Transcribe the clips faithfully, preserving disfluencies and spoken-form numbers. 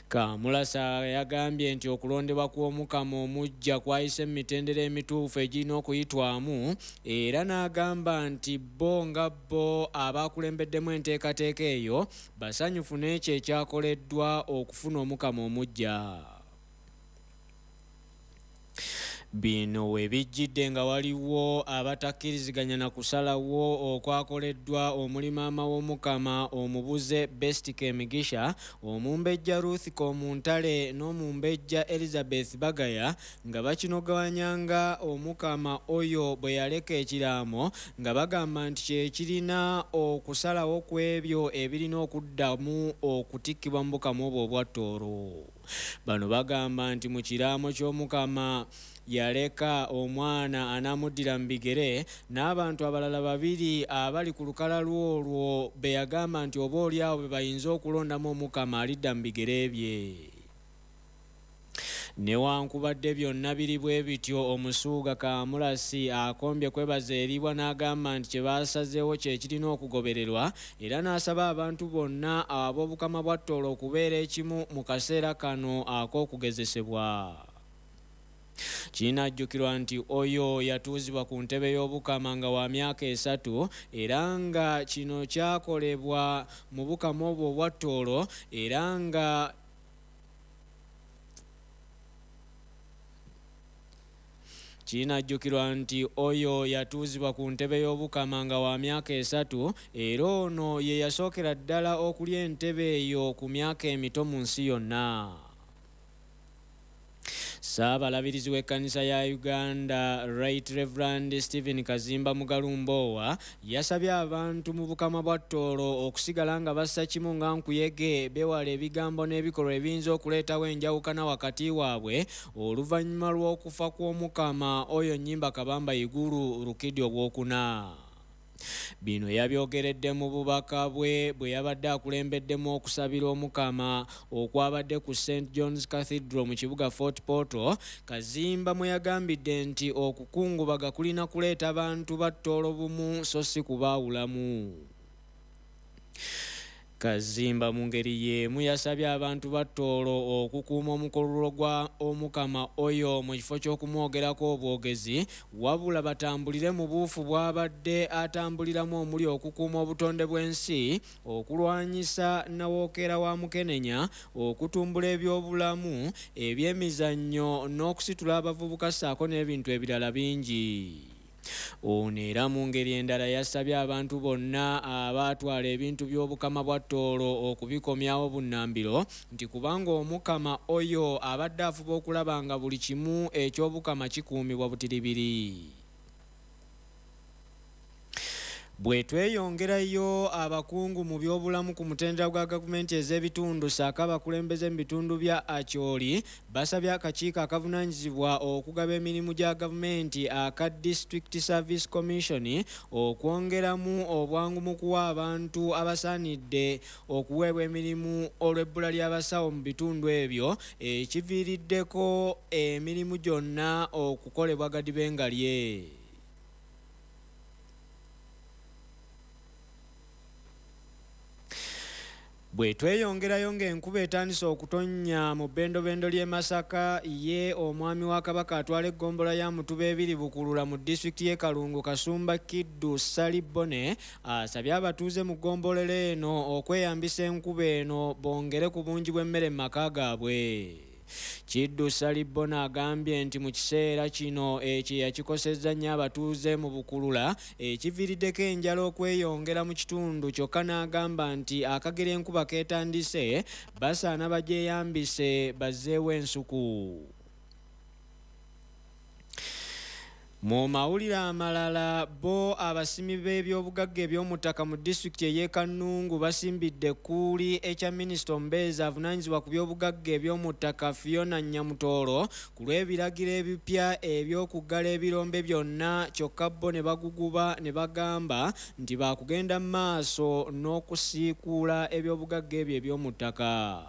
Kamulasa yagambye nti okulondebwa kw'Omukama omuggya kwayise mu mitendera emituufu egirina okuyitwamu, era n'agamba nti bo nga bo abakulembeddemu enteekateeka eyo basanyufu n'ekyo ekyakoleddwa okufuna Omukama omuggya. Bino we bijjidde nga waliwo abatakkiriziganya na kusalawo okwakoleddwa omuli maama w'Omukama omubuze Best Kemigisha, omumbejja Ruth Komuntale n'omumbejja Elizabeth Bagaya nga bakinoganya nga Omukama oyo bwe yaleka ekiraamo, nga bagamba nti kye kirina okusalawo ku ebyo ebirina okuddamu okutikkibwa mu bukama obwo obwa Tooro. Bano bagamba nti mu kiraamo ky'Omukama yaleka omwana anaamuddira mu bigere n'abantu abalala babiri abali ku lukalala olwo be yagamba nti oba oli awo be bayinza okulondamu Omukama alidda mu bigere bye. Newankubadde byonna biri bwe bityo, Omusuuga Kamulasi akombye kwebaza eribwa n'agamba nti kye baasazeewo kye kirina okugobererwa, era n'asaba abantu bonna ab'Obukama bwa Tooro okubeera ekimu mu kaseera kano ak'okugezesebwa. Kinajjukirwa nti oyo yatuuzibwa ku ntebe y'Obukama nga wa myaka esatu, era nga kino kyakolebwa mu bukama obwo obwa Tooro, era nga kinajjukirwa nti oyo yatuuzibwa ku ntebe y'Obukama nga wa myaka esatu, era ono ye yasookera ddala okulya entebe eyo ku myaka emito mu nsi yonna. Ssaabalabirizi w'ekkanisa ya Uganda Right Reverend Stephen Kazimba Mugalu Mbowa yasabye abantu mu bukama bwa Tooro okusigala nga bassa kimu nga nkuyege, beewala ebigambo n'ebikolwa ebiyinza okuleetawo enjawukana wakati waabwe oluvannyuma lw'okufa kw'Omukama oyo Nnyimba Kabamba Iguru Rukidi Owokuna. Bino yabyogeredde mu bubaka bwe bwe yabadde akulembeddemu okusabira Omukama okwabadde ku Saint John's Cathedral mu kibuga Fort Portal. Kazimba mwe yagambidde nti okukungubaga kulina kuleeta bantu ba Tooro bumu so si kubaawulamu. Kazimba mu ngeri y'emu yasabye abantu ba Tooro okukuuma omukululo gwa Omukama oyo mu kifo ky'okumwogerako obwogezi, wabula batambulire mu buufu bw'abadde atambuliramu omuli okukuuma obutonde bw'ensi, okulwanyisa nnawookeera wa Mukenenya, okutumbula ebyobulamu, ebyemizannyo n'okusitula abavubuka ssaako n'ebintu ebirala bingi. Ono era mu ngeri endala yasabye abantu bonna abaatwala ebintu by'Obukama bwa Tooro okubikomyawo bunnambiro, nti kubanga Omukama oyo abadde afuba okulaba nga buli kimu eky'Obukama kikuumibwa butiribiri. Bwe tweyongerayo, abakungu mu byobulamu ku mutendera gwa gavumenti ez'ebitundu ssaako abakulembeze mu bitundu bya Acholi basabye akakiiko akavunaanyizibwa okugaba emirimu gya gavumenti aka District Service Commission okwongeramu obwangu mu kuwa abantu abasaanidde okuweebwa emirimu olw'ebbula ly'abasawo mu bitundu ebyo, ekiviiriddeko emirimu gyonna okukolebwa gadibengalye. Bwe tweyongerayo ng'enkuba etandise okutonnya mu bbendobendo ly'e Masaka, ye omwami wa Kabaka atwala eggombolola ya Mutuba ebiri Bukulula mu disitulikiti y'e Kalungu Kasumba Kiddu Ssali Bbone asabye abatuuze mu ggombolola eno okweyambisa enkuba eno bongere ku bungi bw'emmere mu maka gaabwe. Kiddu Ssali Bbone agambye nti mu kiseera kino ekyeya kikosezza nnyo abatuuze mu Bukulula, ekiviiriddeko enjala okweyongera mu kitundu, kyokka n'agamba nti akagera enkuba keetandise basaana bagyeyambise bazzeewo ensuku. Mu mawulire amalala, bo abasimi b'ebyobugagga eby'omu ttaka mu disitulikiti ey'e Kannungu basimbidde ekkuuli ekya minisita omubeezi avunaanyizibwa ku byobugagga eby'omu ttaka Fiona Nyamutooro ku lw'ebiragiro ebipya eby'okuggala ebirombe byonna, kyokka bo ne baguguba ne bagamba nti baakugenda mu maaso n'okusiikuula ebyobugagga ebyo eby'omu ttaka.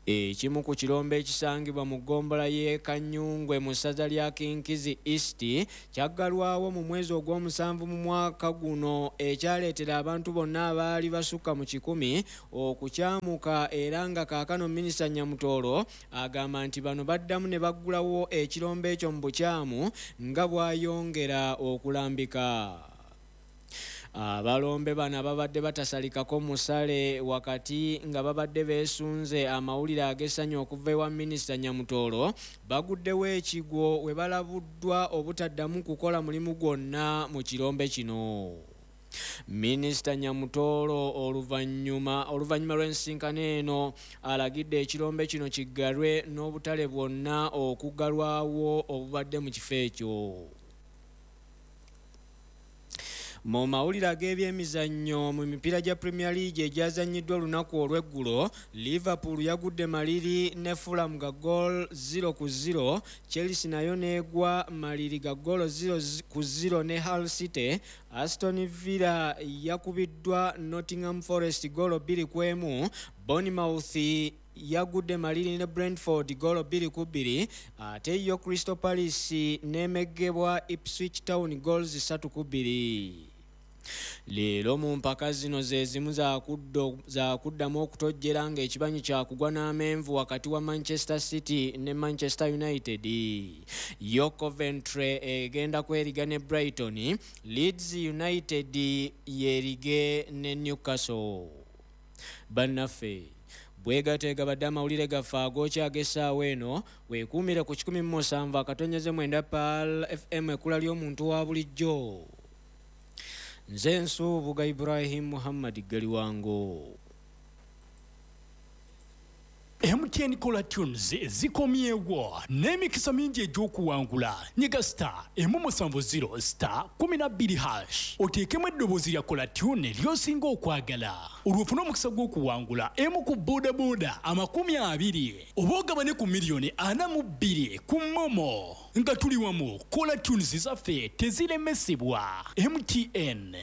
Ekimu ku kirombe ekisangibwa mu ggombolola y'e Kanyungwe mu ssaza lya Kinkizi East kyaggalwawo mu mwezi ogw'omusanvu mu mwaka guno, ekyaleetera abantu bonna abaali basukka mu kikumi okukyamuka, era nga kaakano Minisita Nyamutoolo agamba nti bano baddamu ne baggulawo ekirombe ekyo mu bukyamu nga bw'ayongera okulambika. Abalombe bano ababadde batasalikako musale wakati nga babadde beesunze amawulire ag'essanyu okuva ewa Minisita Nyamutoolo baguddewo ekigwo we balabuddwa obutaddamu kukola mulimu gwonna mu kirombe kino. Minisita Nyamutoolo oluvannyuma oluvannyuma lw'ensisinkano eno alagidde ekirombe kino kiggalwe n'obutale bwonna okuggalwawo obubadde mu kifo ekyo. Mu mawulire ag'ebyemizannyo, mu mipiira gya Premier League egyazannyiddwa olunaku olw'eggulo, Liverpool yagudde maliri ne Fulham ga goal zero ku zero, Chelsea nayo n'egwa maliri ga goal zero ku zero ne Hull City, Aston Villa yakubiddwa Nottingham Forest goal bbiri ku emu, Bournemouth yagudde maliri ne Brentford goal bbiri ku bbiri, ate yo Crystal Palace n'emeggebwa Ipswich Town goals ssatu ku bbiri. Leero mu mpaka zino ze zimu zaakuddamu okutojjera ng'ekibanyi kyakugwa n'amenvu wakati wa Manchester City ne Manchester United. Yo Coventry egenda kweriga ne Brighton, Leeds United yerige ne Newcastle. Bannaffe, bwegateega badde amawulire gaffe agookya ag'essaawa eno, weekuumire ku kikumi mu musanvu akatonyeze mwenda Pearl F M, ekkula ly'omuntu wa bulijjo. Nze Nsubuga Ibrahim Muhammad Galiwango. M T N Caller Tunes zikomyewo n'emikisa mingi egy'okuwangula. Nyiga star emu musanvu zero star kumi na bbiri hash oteekemu eddoboozi lya Caller Tune ly'osinga okwagala, olwo ofune omukisa gw'okuwangula emu ku boodabooda amakumi abiri oba ogabane ku miliyoni ana mu bbiri ku MoMo. Nga tuli wamu, Caller Tunes zaffe teziremesebwa. M T N.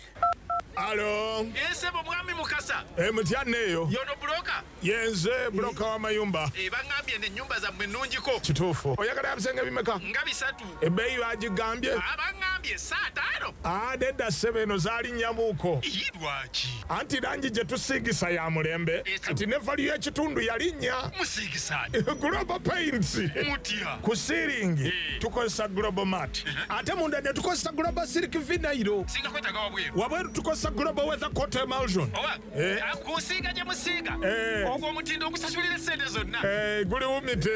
Alo. Ese bo mwami Mukasa. Eh, mutya neyo. Yono broker. Yenze broker wa mayumba. Eh, bangambye ne nyumba zammwe nnungiko. Kituufu. Oyagala ebisenge bimeka? Nga bisatu. Ebbeeyi bagigambye? Ah, bangambye saa ttaano. Ah, nedda ssebo, eno zaali nnyamuuko. Ii, lwaki? Anti langi gye tusiigisa ya mulembe. Kati ne value y'ekitundu yalinnya. Musiigisa. Global Paints. Mutya. Ku ceiling tukozesa Global Mat. Ate munda ne tukozesa Global Silk Vinyl. Singa kwetaaga wabweru. Wabweru tukozesa Global Weather Coat Emulsion. Oba? Eh. Kusiiga gye musiiga. Eh. Ogwo omutindo ogusasulira essente zonna. Eh, guli wumite.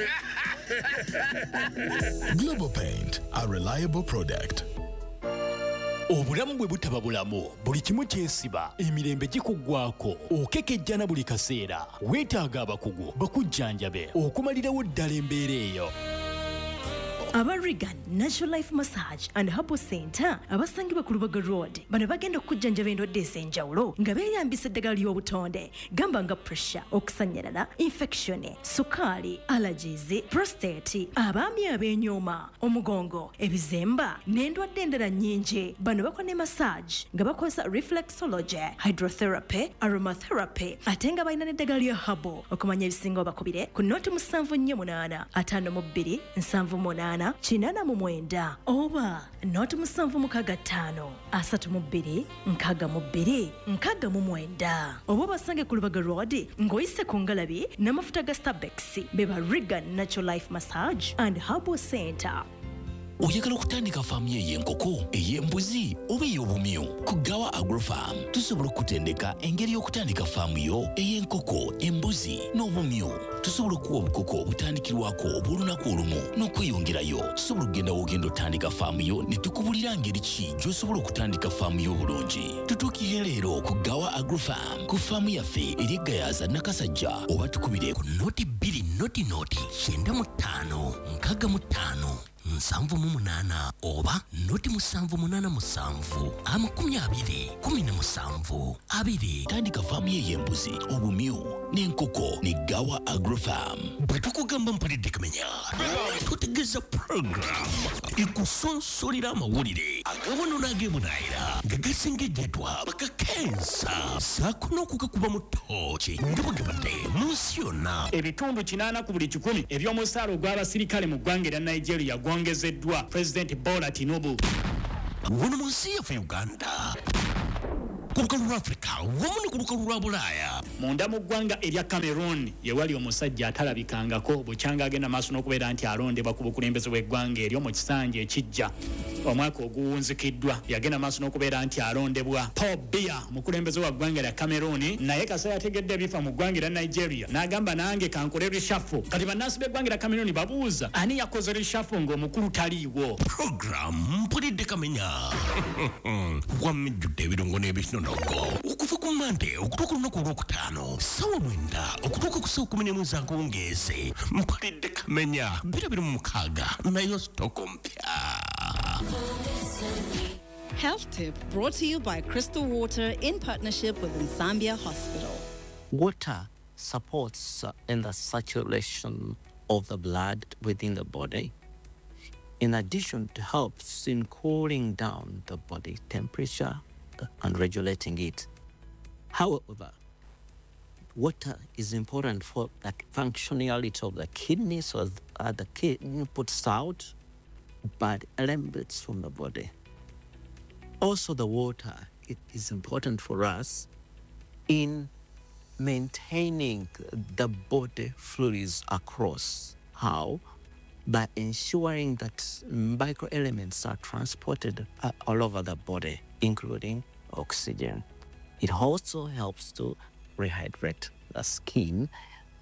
Global Paint, a reliable product. Obulamu bwe butaba bulamu, buli kimu kyesiba, emirembe gikuggwako, okekejjana buli kaseera, weetaaga abakugu bakujjanjabe okumalirawo ddala embeera eyo. Aba Regan Natural Life Massage and Herbal Center abasangibwa ku Lubaga Road bano bagenda okujjanjaba endwadde ez'enjawulo nga beeyambisa eddagala ly'obutonde, gamba nga pressure, okusannyalala, infection, sukaali, allergies, prostate, abaami ab'enyooma, omugongo, ebizemba n'endwadde endala nnyingi. Bano bakola ne massage nga bakozesa reflexology, hydrotherapy, aromatherapy, ate nga balina n'eddagala lya herbal. Okumanya ebisingawo bakubire ku noti musanvu nnyo munaana ataano mu bbiri nsanvu munaana kinana mu mwenda oba noti musanvu mukaaga ttaano asatu mu bbiri nkaaga mu bbiri nkaaga mu mwenda, oba basange ku Lubaga Road ng'oyise ku ngalabi n'amafuta ga Starbucks. Beba Regan Natural Life Massage and Herbal Center. Oyagala okutandika faamu yo ey'enkoko, ey'embuzi oba ey'obumyu? Ku Gawa Agrofarm tusobola okukutendeka engeri y'okutandika faamu yo ey'enkoko, embuzi n'obumyu. Tusobola okuwa obukoko obutandikirwako obw'olunaku olumu n'okweyongerayo. Tusobola okugenda w'ogenda otandika faamu yo ne tukubulira ngeri ki gy'osobola okutandika faamu yo obulungi. Tutuukirire leero ku Gawa Agrofarm ku faamu yaffe eri Gayaza Nakasajja, oba tukubire ku noti bbiri noti noti kyenda mu ttaano nkaaga mu ttaano nsanvu mu munaana oba noti musanvu munaana musanvu amakumi abiri kumi na musanvu abiri. Tandika faamu ye ey'embuzi, obumyu N'enkoko ne Gawa Agrofarm. Bwe tukugamba Mpulidde Kamenya, tutegeeza program ekusonsolera amawulire agawono n'ag'ebunaayira nga gasengejjeddwa bakakensa ssaako n'okugakuba mu ttooki nga bwe gabadde mu nsi yonna. Ebitundu kinaana ku buli kikumi eby'omusaala ogw'abasirikale mu ggwanga erya Nigeria gwongezeddwa Pulezidenti Bola Tinubu. Wano mu nsi yaffe Uganda, ku lukalu lwa Afrika wamu ne ku lukalu lwa Bulaaya. Munda mu ggwanga erya Cameroon ye wali omusajja atalabikangako bukyanga agenda maaso n'okubeera nti alondebwa ku bukulembeze bw'eggwanga eryo mu kisanja ekijja omwaka oguwunzikiddwa. Yagenda maaso n'okubeera nti alondebwa Paul Biya, mukulembeze wa ggwanga lya Cameroon, naye kasa yategedde ebifa mu ggwanga erya Nigeria n'agamba nange kankole reshuffle. Kati bannansi b'eggwanga erya Cameroon babuuza ani yakoze reshuffle ng'omukulu taliiwo. Program Mpulidde Kamenya wamijjudde ebirungo n'ebinonogo okuva ku Mande okutuuka olunaku olwokutaano ssaawa mwenda okutuuka ku ssaawa kumi n'emu ez'akawungeezi. Mpulidde Kamenya bbiri abiri mu mukaaga nayo sitoko mpya. Health tip brought to you by Crystal Water in partnership with Nsambya Hospital. Water supports in the circulation of the blood within the body. In addition, it helps in cooling down the body temperature and regulating it. However, water is important for the functionality of the kidney, so that the kidney puts out bad elements from the body. Also, the water, it is important for us in maintaining the body fluids across. How? By ensuring that microelements are transported all over the body, including oxygen. It also helps to rehydrate the skin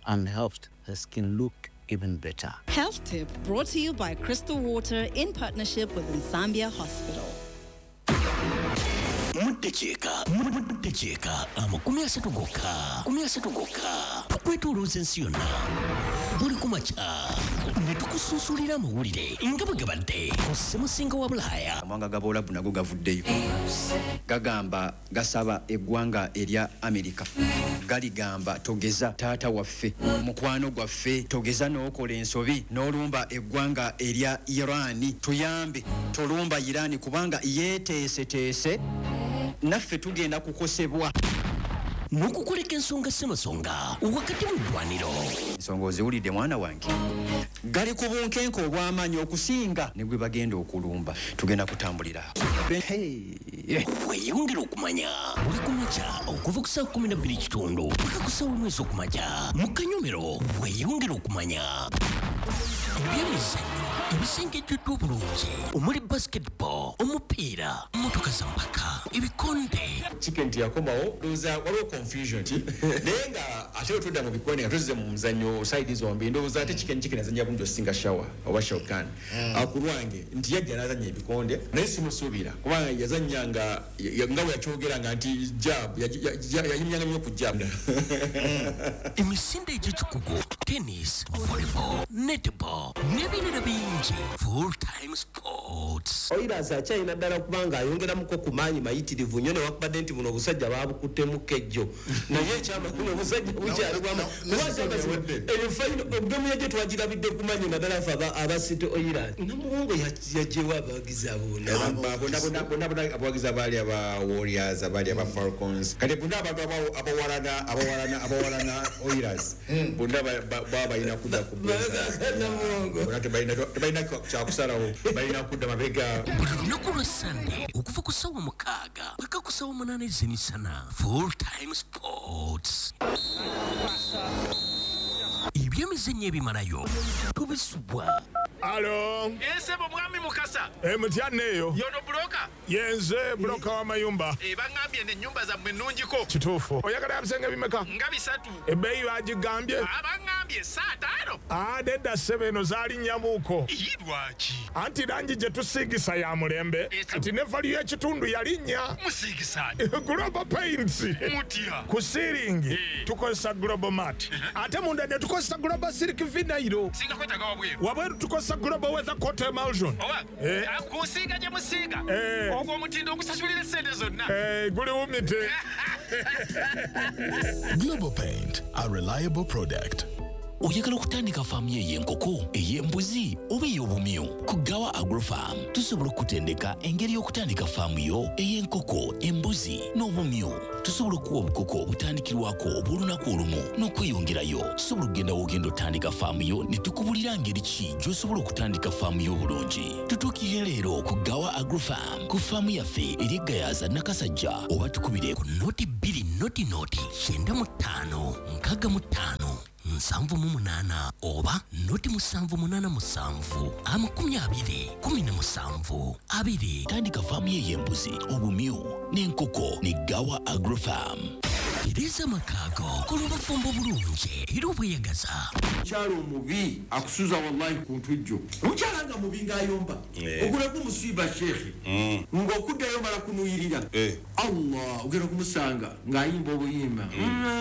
and helps the skin look even better. Health tip brought to you by Crystal Water in partnership with Nsambya Hospital. Muddakiika muddakiika amakumi asatu gokka makumi asatu gokka tukwetoolooza ensi yonna buli ku makya ne tukusunsulira amawulire nga bwe gabadde ku ssemusinga wa Bulaaya. Amawanga ga Buwalabu nago gavuddeyo gagamba gasaba eggwanga erya Amerika, galigamba togeza taata waffe, mukwano gwaffe, togeza n'okola ensobi n'olumba eggwanga erya Irani, tuyambe tolumba Irani kubanga yeeteeseteese naffe tugenda kukosebwa. N'okukuleka ensonga ssemasonga wakati mu ddwaniro. Ensonga oziwulidde mwana wange, gali ku bunkenke obw'amaanyi okusinga ne gwe bagenda okulumba. Tugenda kutambulira. Weeyongere okumanya buli ku makya okuva ku ssaawa kkumi na bbiri kitundu paka ku ssaawa emu ez'okumakya mu kanyomero. Weeyongere okumanya ebyemizannyo ebisengejjeddwa obulungi omuli basketball, omupiira, mmotoka za mpaka, ebikonde. Chicken tiyakomawo ndowooza waliwo confusion naye nga ate otudda mu bikonde nga tuzze mu muzannyo side zombi, ndowooza ate Chicken Chicken azannya bulungi osinga Shawa oba Shaukan ku lwange nti yajja n'azannya ebikonde naye simusuubira kubanga yazannya nga nga bwe yakyogeranga nti jab yayimyanga nnyo ku jab. Emisinde egy'ekikugu, tennis, volleyball, netball n'ebirala bingi. Full time sports. Oilers akyalina ddala kubanga ayongeramuko ku maanyi mayitirivu nnyo newakubadde nti buno obusajja baabukuttemu kejjo naye ekyamazima obusajja bukyali bwama gemu yajjo twagirabidde ku maanyi naddala ffe aba City Oilers. Namuwongo yaggyewo abawagizi abo bonna bonna bonna abawagizi abaali aba Warriors, abaali aba Falcons, kati bonna abantu abawalana abawalana abawalana Oilers bonna baba balina kudda ku bonna tebalina kyakusalawo, balina kudda mabega. Buli lunaku lwa Sande okuva ku ssaawa mukaaga paka ku ssaawa munaana ez'emisana. Full time sports. Ebyemizannyo ebimalayo tubisubwa. Alo. Ensebo mwami Mukasa. Eh, mutyanne eyo. Yono buloka. Yenze buloka w'amayumba. Eh, bangambye n'ennyumba zammwe nnungiko. Kituufu. Oyagala ebisenge bimeka? Nga bisatu. Ebbeeyi bagigambye? Ah, bangambye saa ttaano. Ah, nedda ssebo eno zaalinnyamuuko. Ii, lwaki? Anti langi gye tusiigisa ya mulembe. Kati ne value y'ekitundu yalinnya. Musiigisa. Global Paints. Mutya. Ku siiringi tukozesa Global Mat. Ate munda ne tukozesa Global Silk Vinyl. Singa kwetaaga wabweru. Wabweru tukozesa Global Weather Coat Emulsion. Oba, eh. Kusiiga gye musiiga. Eh. Ogwo omutindo ogusasulira essente zonna. Eh, guli wumite. Global Paint, a reliable product. Oyagala okutandika faamu yo ey'enkoko, ey'embuzi oba ey'obumyu? Ku Gawa Agrofarm tusobola okutendeka engeri y'okutandika faamu yo ey'enkoko, embuzi n'obumyu. Tusobola okuwa obukoko obutandikirwako obw'olunaku olumu n'okweyongerayo. Tusobola okugenda w'ogenda otandika faamu yo ne tukubulira ngeri ki gy'osobola okutandika faamu yo obulungi. Tutuukirire leero ku Gawa Agrofarm ku faamu yaffe eri e Gayaza Nakasajja, oba tukubire ku noti bbiri noti noti kyenda mu ttaano nkaaga mu ttaano nsanvu mu munaana oba noti musanvu munaana musanvu amakumi abiri kumi na musanvu abiri. Tandika faamu ye ey'embuzi, obumyu n'enkoko ne Gawa Agrofarm. Tereza amakaago kola obufumbo bulungi era obweyagaza. Omukyala omubi akusuza wallahi ku ntujjo. Omukyala nga mubi ng'ayomba, ogulako musiiba sheekhe ng'okuddayo mala kunuyirira. Allah, ogenda okumusanga ng'ayimba obuyimba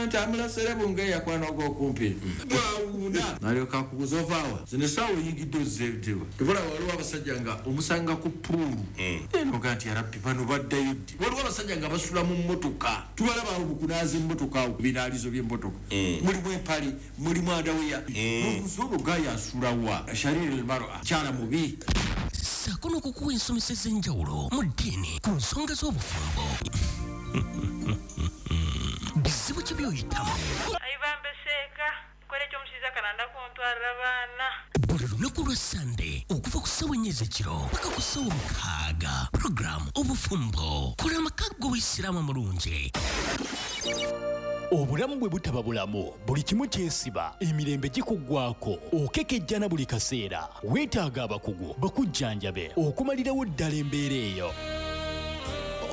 ntamulasere bunge yakwana ogw'okumpi bwawuuna nalyoka akubuza ovaawa zino essaawa oyingidde ozzeetewa. Tebula waliwo abasajja nga omusanga ku puulu enoga nti yarabbi bano baddayo ddi. Waliwo abasajja nga basula mu mmotoka, tubalaba awo mu kunaaza emmotoka awo ku binaalizo by'emmotoka, mulimu empale, mulimu andaweya. N'obuuza olwo gaaya asulawa shariri almar'a, kyala mubi. Ssaako n'okukuwa ensomesa ez'enjawulo mu ddiini ku nsonga z'obufumbo. Bizibu ki by'oyitamu? Buli lunaku lwa Sande okuva ku ssaawa ennya ez'ekiro paka ku ssaawa mukaaga, puroguramu Obufumbo, kola amaka g'Obuyisiraamu amulungi. Obulamu bwe butaba bulamu, buli kimu kyesiba, emirembe gikuggwako, okekejjana buli kaseera. Weetaaga abakugu bakujjanjabe okumalirawo ddala embeera eyo.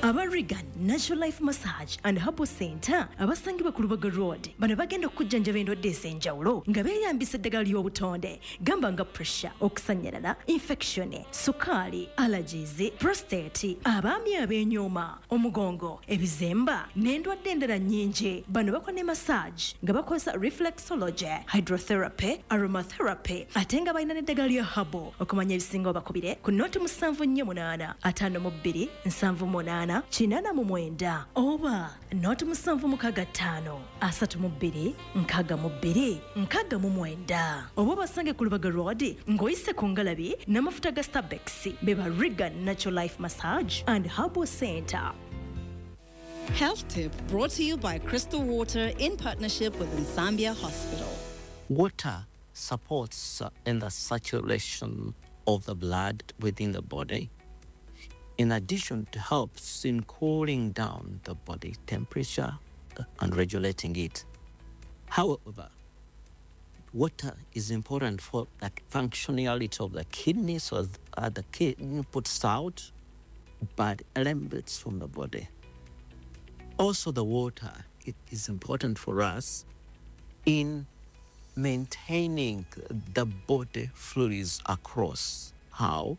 Aba Regan Natural Life Massage and Herbal Center abasangibwa ku Lubaga Road bano bagenda okujjanjaba endwadde ez'enjawulo nga beeyambisa eddagala ly'obutonde, gamba nga pressure, okusannyalala, infection, sukaali, allergies, prostate, abaami ab'enyooma, omugongo, ebizemba n'endwadde endala nnyingi. Bano bakola ne massage nga bakozesa reflexology, hydrotherapy, aromatherapy ate nga balina n'eddagala lya herbal. Okumanya ebisingawo bakubire ku noti musanvu nnyo munaana ataano mu bbiri nsanvu munaana kinana mu mwenda oba noti musanvu mukaaga ttaano asatu mu bbiri nkaaga mu bbiri nkaaga mu mwenda, oba obasange ku Lubaga Road ng'oyise ku ngalabi n'amafuta ga Starbucks. Be ba Regan Natural Life Massage and Herbal Center. Health tip brought to you by Crystal Water in partnership with Nsambya Hospital. Water supports in the circulation of the blood within the body. In addition, it helps in cooling down the body temperature and regulating it. However, water is important for the functionality of the kidney, so that the kidney puts out bad elements from the body. Also, the water, it is important for us in maintaining the body fluids across. How?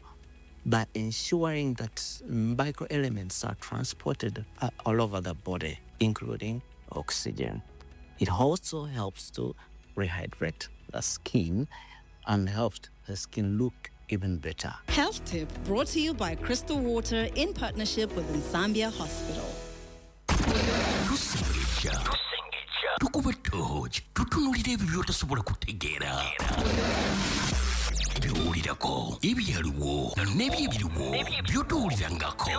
By ensuring that microelements are transported uh, all over the body, including oxygen. It also helps to rehydrate the skin and helps the skin look even better. Health tip brought to you by Crystal Water in partnership with Nsambya Hospital. Tusengejja, tukuba tooki, tutunuulira ebyo by'otasobola kutegeera. By'owulirako, ebyaliwo n'ebyebiriwo by'otowulirangako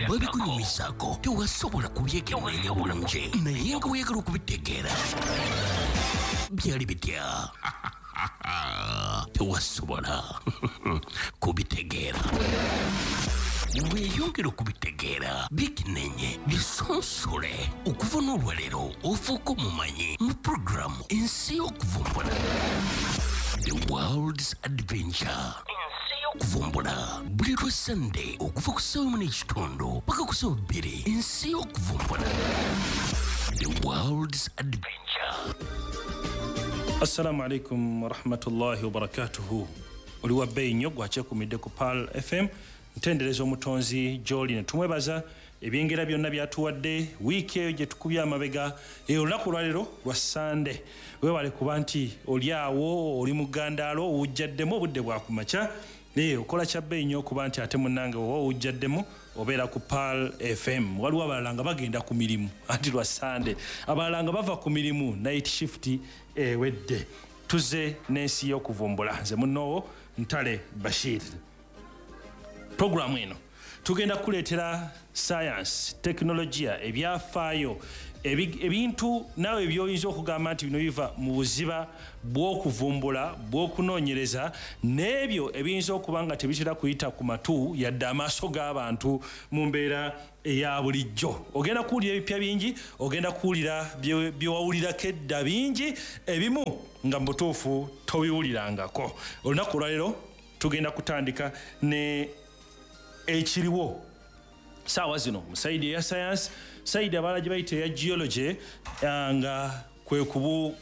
babikunyumizaako tewasobola kubyekenneenya bulungi, naye nga weeyagala okubitegeera byali bitya tewasobola kubitegeera. Weeyongera okubitegeera, bikenenye, bisonsole okuva n'olwaleero ofuuka omumanyi mu puroguramu Ensi y'Okuvumbula. The World's Adventure. Kuvumbula buli lwa Sunday okuva ku ssaawa emu n'ekitundu paka ku ssaawa bbiri. Ensi y'Okuvumbula. The World's Adventure. Assalamu alaikum warahmatullahi wabarakatuhu. Oli wa bbeeyi nnyo gwakyekumidde ku Pearl F M. Ntendereza omutonzi gy'oli ne tumwebaza ebyengera byonna byatuwadde wiiki eyo gye tukubye amabega. Olunaku olwaleero lwa Sande. Weebale kuba nti oli awo oli mu ggandaalo owujjaddemu obudde bwa kumakya. Naye okola kya bbeeyi nnyo okuba nti ate munnange oba owujjaddemu obeera ku Pearl F M. Waliwo abalala nga bagenda ku mirimu anti lwa Sande, abalala nga bava ku mirimu, night shift ewedde. Tuzze n'ensi y'okuvumbula. Nze munnoowo Ntale Bashir. Puroguramu eno tugenda kukuleetera science, tekinologiya, ebyafaayo, ebintu naawe by'oyinza okugamba nti bino biva mu buziba bw'okuvumbula, bw'okunoonyereza, n'ebyo ebiyinza okuba nga tebitera kuyita ku matu yadde amaaso g'abantu mu mbeera eya bulijjo. Ogenda kuwulira ebipya bingi, ogenda kuwulira bye wawulirako edda bingi, ebimu nga mu butuufu tobiwulirangako. Olunaku olwaleero tugenda kutandika ne ekiriwo saawa zino mu sayidi eya science, sayidi abalala gye bayita eya geology, nga kwe kubu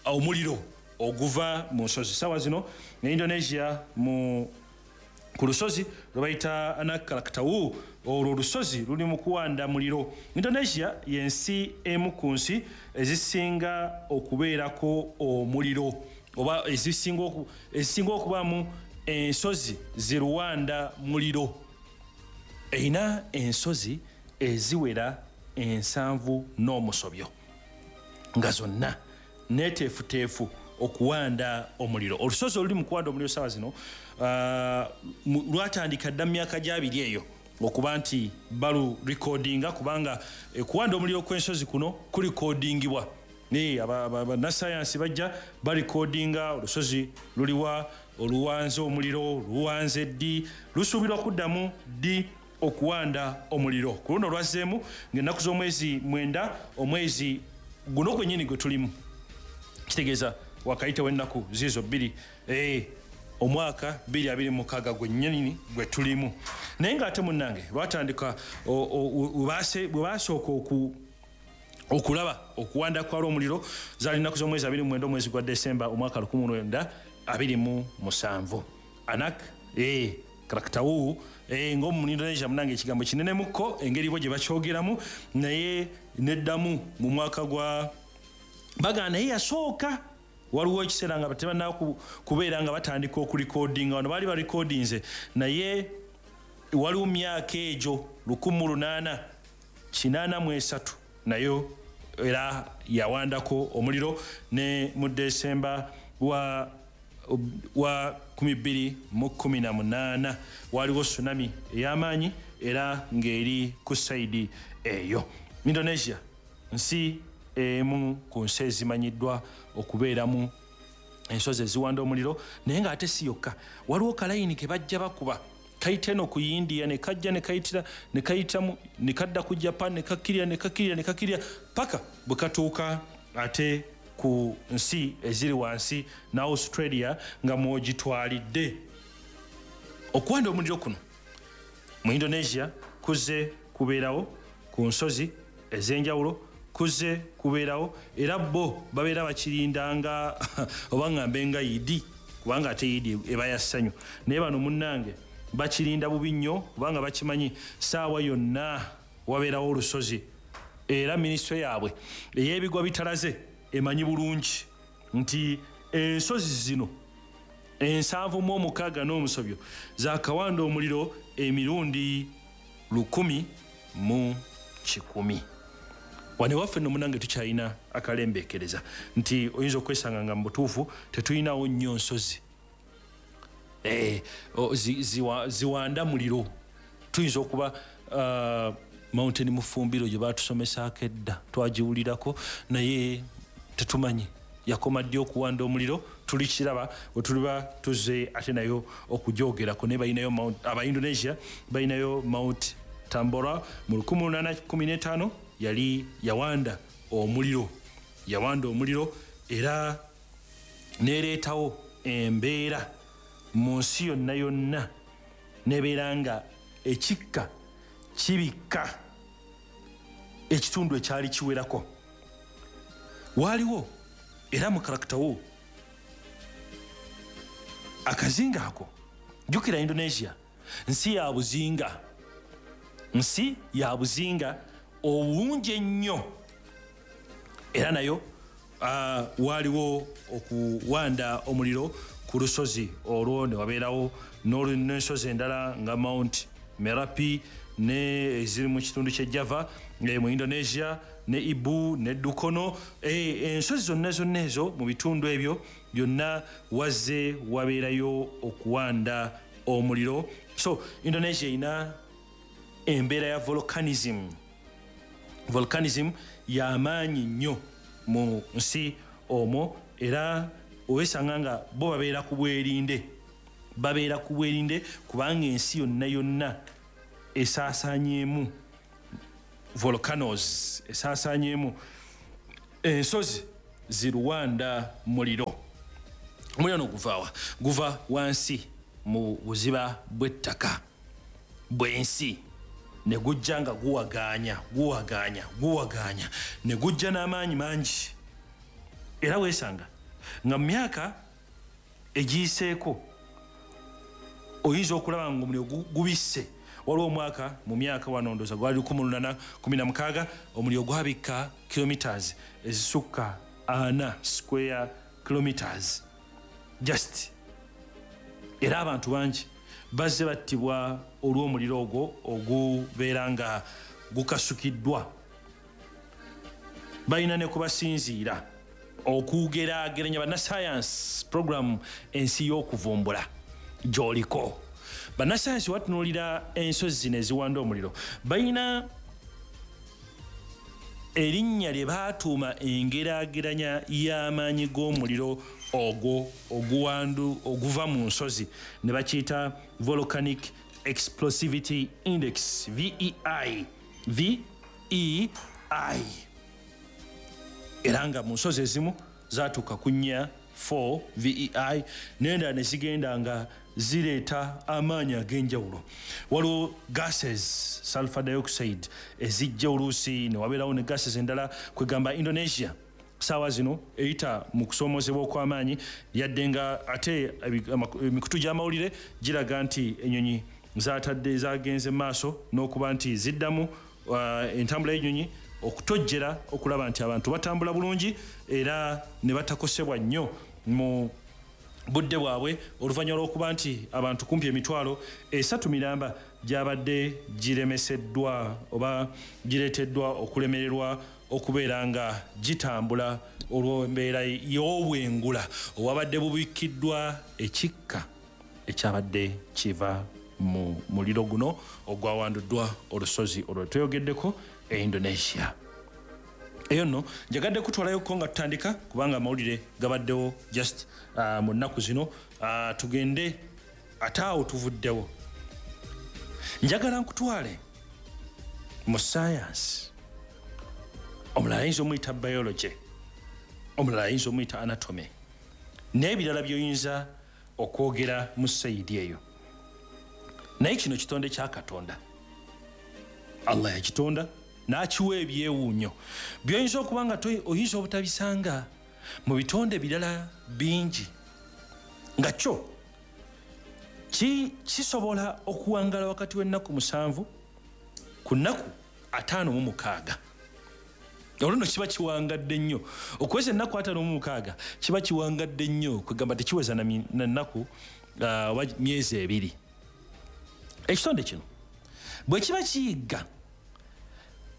omuliro oguva mu nsozi. Saawa zino ne Indonesia mu ku lusozi lwe bayita Anak Krakatau, olwo olusozi luli mu kuwanda muliro. Indonesia y'ensi emu ku nsi ezisinga okubeerako omuliro, oba ezisinga okubaamu ensozi ziruwanda muliro. Erina ensozi eziwera ensanvu n'omusobyo nga zonna neeteefuteefu okuwanda omuliro. Olusozi oluli mu kuwanda omuliro saawa zino lwatandika dda mu myaka gy'abiri eyo okuba nti balurekodinga, kubanga okuwanda omuliro kw'ensozi kuno kulikodingibwa. Naye bannasayansi bajja balikodinga olusozi luliwa, oluwanze omuliro, luwanze ddi, lusuubirwa kuddamu ddi okuwanda omuliro. Ku luno lwazzeemu ng'ennaku z'omwezi mwenda, omwezi guno gwennyini gwe tulimu, kitegeeza wakayitawo ennaku ziizo bbiri, eh, omwaka bbiri abiri mukaaga gwennyini gwe tulimu. Naye ng'ate munnange lwatandika bwe baasooka oku okulaba okuwanda kwalwo omuliro zaali nnaku z'omwezi abiri mu mwenda omwezi gwa Desemba omwaka lukumi lwenda abiri mu musanvu. Anak eh, Krakatau eh, ng'omu Indonesia munnange ekigambo kinenemukko engeri bo gye bakyogeramu, naye neddamu mu mwaka gwa baga naye yasooka. Waliwo ekiseera nga tebannaba kubeera nga batandika okulikodinga, wano baali balikodinze, naye waliwo myaka egyo lukumi lunaana kinaana mu esatu nayo era yawandako omuliro, ne mu Desemba wa wa kumi bbiri mu kumi na munaana waliwo tsunami ey'amaanyi era ng'eri ku sayidi eyo. Indonesia nsi emu ku nsi ezimanyiddwa okubeeramu ensozi eziwanda omuliro, naye ng'ate si yokka. Waliwo kalayini ke bajja bakuba kayita eno ku India, ne kajja ne kayitira ne kayitamu ne kadda ku Japan, ne kakkirira ne kakkirira ne kakkirira paka bwe katuuka ate ku nsi eziri wansi na Australia nga mwogitwalidde. Okuwanda omuliro kuno mu Indonesia kuzze kubeerawo ku nsozi ez'enjawulo, kuzze kubeerawo era bo babeera bakirindanga oba ngambe nga yidi, kubanga ate yidi eba ya ssanyu, naye bano munnange bakirinda bubi nnyo kubanga bakimanyi saawa yonna wabeerawo olusozi. Era minisitule yaabwe ey'ebigwa bitalaze emanyi bulungi nti ensozi zino ensanvu mu omukaaga n'omusobyo zaakawanda omuliro emirundi lukumi mu kikumi. Wano waffe nno munnange tukyalina akalembeekereza nti oyinza okwesanga nga mu butuufu tetulinawo nnyo nsozi eh, ziwanda muliro. Tuyinza okuba uh, Mountain Mufumbiro gye baatusomesaako edda twagiwulirako, naye tetumanyi yakoma ddi okuwanda omuliro. Tulikiraba bwe tuliba tuzze ate nayo okugyogerako. Naye balinayo aba Indonesia balinayo Mount Tambora mu lukumi lunaana kumi n'etaano yali yawanda omuliro, yawanda omuliro era n'ereetawo embeera mu nsi yonna yonna, n'ebeera nga ekikka kibikka ekitundu ekyali kiwerako. Waaliwo era mu Krakatau akazinga ako, jjukira Indonesia nsi ya buzinga, nsi ya buzinga obulungi ennyo, era nayo uh, waaliwo okuwanda omuliro ku lusozi olwo ne wabeerawo n'ensozi endala nga Mount Merapi ne eziri mu kitundu ky'e Java mu Indonesia ne Ibu ne Dukono. Ensozi zonna zonna ezo mu bitundu ebyo byonna wazze wabeerayo okuwanda omuliro. So Indonesia erina embeera ya volcanism. Volcanism y'amaanyi nnyo mu nsi omwo, era owesanga nga bo babeera ku bwerinde, babeera ku bwerinde kubanga ensi yonna yonna esaasaanyeemu volcanoes, esaasaanyeemu ensozi ziruwanda muliro. Omuliro no guvaawa? Guva wansi mu buziba bw'ettaka bw'ensi ne gujja nga guwagaanya guwagaanya guwagaanya ne gujja n'amaanyi mangi. Era weesanga nga mu myaka egiyiseeko oyinza okulaba nga omuliro gubisse. Waliwo omwaka mu myaka wano ndowooza gwali lukumi lunaana kumi na mukaaga omuliro gwabikka kilometers ezisukka ana square kilometers just. Era abantu bangi bazze battibwa olw'omuliro ogwo ogubeera nga gukasukiddwa. Balina ne kubasinziira okugeraageranya bannasayansi program ensi y'okuvumbula gy'oliko. Bannasayansi watunuulira ensozi zino eziwanda omuliro, balina erinnya lye baatuuma engeraageranya y'amaanyi g'omuliro ogwo oguwandu oguva mu nsozi ne bakiyita Volcanic Explosivity Index, V E I. V E I. Era nga mu nsozi ezimu zaatuuka ku nnya four V E I, n'endala ne zigenda nga zireeta amaanyi ag'enjawulo. Waliwo gases, sulfur dioxide ezijja oluusi ne wabeerawo ne gases endala. Kwegamba Indonesia saawa zino eyita mu kusoomozebwa okw'amaanyi, yadde nga ate emikutu gy'amawulire giraga nti ennyonyi zaatadde zagenze maaso n'okuba nti ziddamu uh, entambula y'ennyonyi okutojjera okulaba nti abantu batambula bulungi era ne batakosebwa nnyo mu budde bwabwe, oluvannyuma lw'okuba nti abantu kumpi emitwalo esatu miramba gyabadde giremeseddwa oba gireeteddwa okulemererwa okubeera nga gitambula olw'embeera y'obwengula obwabadde bubikkiddwa ekikka ekyabadde kiva mu muliro guno ogwawanduddwa olusozi olwo tweyogeddeko e Indonesia. Eyo nno njagadde kutwalayoko nga tutandika kubanga amawulire gabaddewo just uh, mu nnaku zino. uh, tugende ate awo tuvuddewo. Njagala nkutwale mu science. Omulala ayinza omuyita biology, omulala ayinza omuyita anatomy, n'ebirala by'oyinza okwogera mu sayidi eyo. Naye kino kitonde kya Katonda, Allah yakitonda n'akiwa ebyewuunyo by'oyinza okuba nga oyinza obutabisanga mu bitonde birala bingi, nga kyo kisobola okuwangala wakati w'ennaku musanvu ku nnaku ataano mu mukaaga. Olwo nno kiba kiwangadde nnyo okuweza ennaku ataano mu mukaaga, kiba kiwangadde nnyo kwegamba tekiweza na nnaku oba myezi ebiri. Ekitonde kino bwe kiba kiyigga,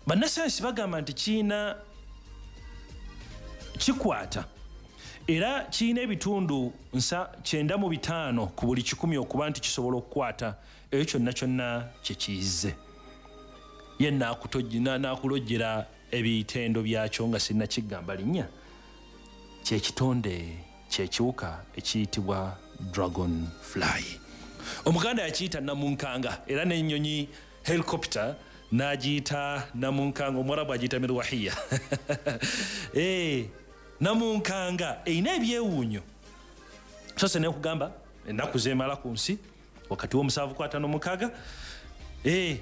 bannasayansi bagamba nti kirina kikwata era kirina ebitundu nsa kyenda mu bitaano ku buli kikumi okuba nti kisobola okukwata ekyo kyonna kyonna kye kiyizze. Ye n'akulojjera ebitendo byakyo nga sinnakigamba linnya. Kyekitonde kyekiwuka ekiyitibwa dragon fly. Omuganda yakiyita namunkanga, era n'ennyonyi helicopter n'agiyita namunkanga, omuwarabu agiyita mirwahiya. Eh, namunkanga erina ebyewuunyo. Sose nekugamba ennaku zeemala ku nsi wakati w'omusanvu ku ataano mukaaga. Eh,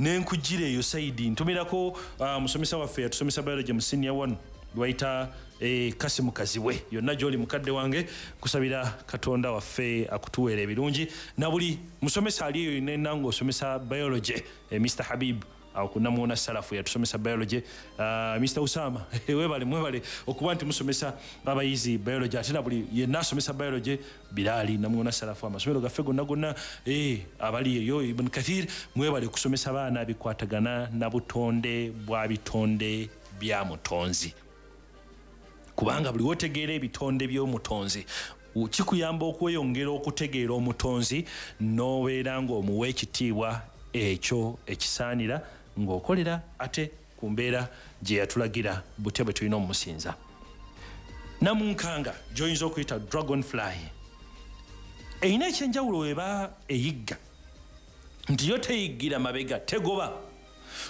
nenkujjira eyo sayidi ntumirako uh, musomesa waffe yatusomesa biology mu senior one lwayita eh, Kasimu Kazibwe. Yonna gy'oli mukadde wange, kusabira Katonda waffe akutuweera ebirungi, na buli musomesa ali eyo nenna ng'osomesa biology, eh, Mister Habib Awo ku Namuwona Salafu yatusomesa biology. uh, Mister Usama webale, mwebale okuba nti musomesa abayizi biology, ate na buli yenna asomesa biology. Bilali, Namuwona Salafu, amasomero gaffe gonna gonna, eh, abali eyo Ibn Kathir, mwebale kusomesa abaana bikwatagana na butonde bwa bitonde bya mutonzi, kubanga buli wotegeera ebitonde by'omutonzi kikuyamba okweyongera okutegeera omutonzi n'obeera ng'omuwa ekitiibwa ekyo ekisaanira ng'okolera ate ku mbeera gye yatulagira butya bwe tulina omusinza. Namunkanga gy'oyinza okuyita dragonfly erina ekyenjawulo eba eyigga nti yo teyiggira mabega, tegoba,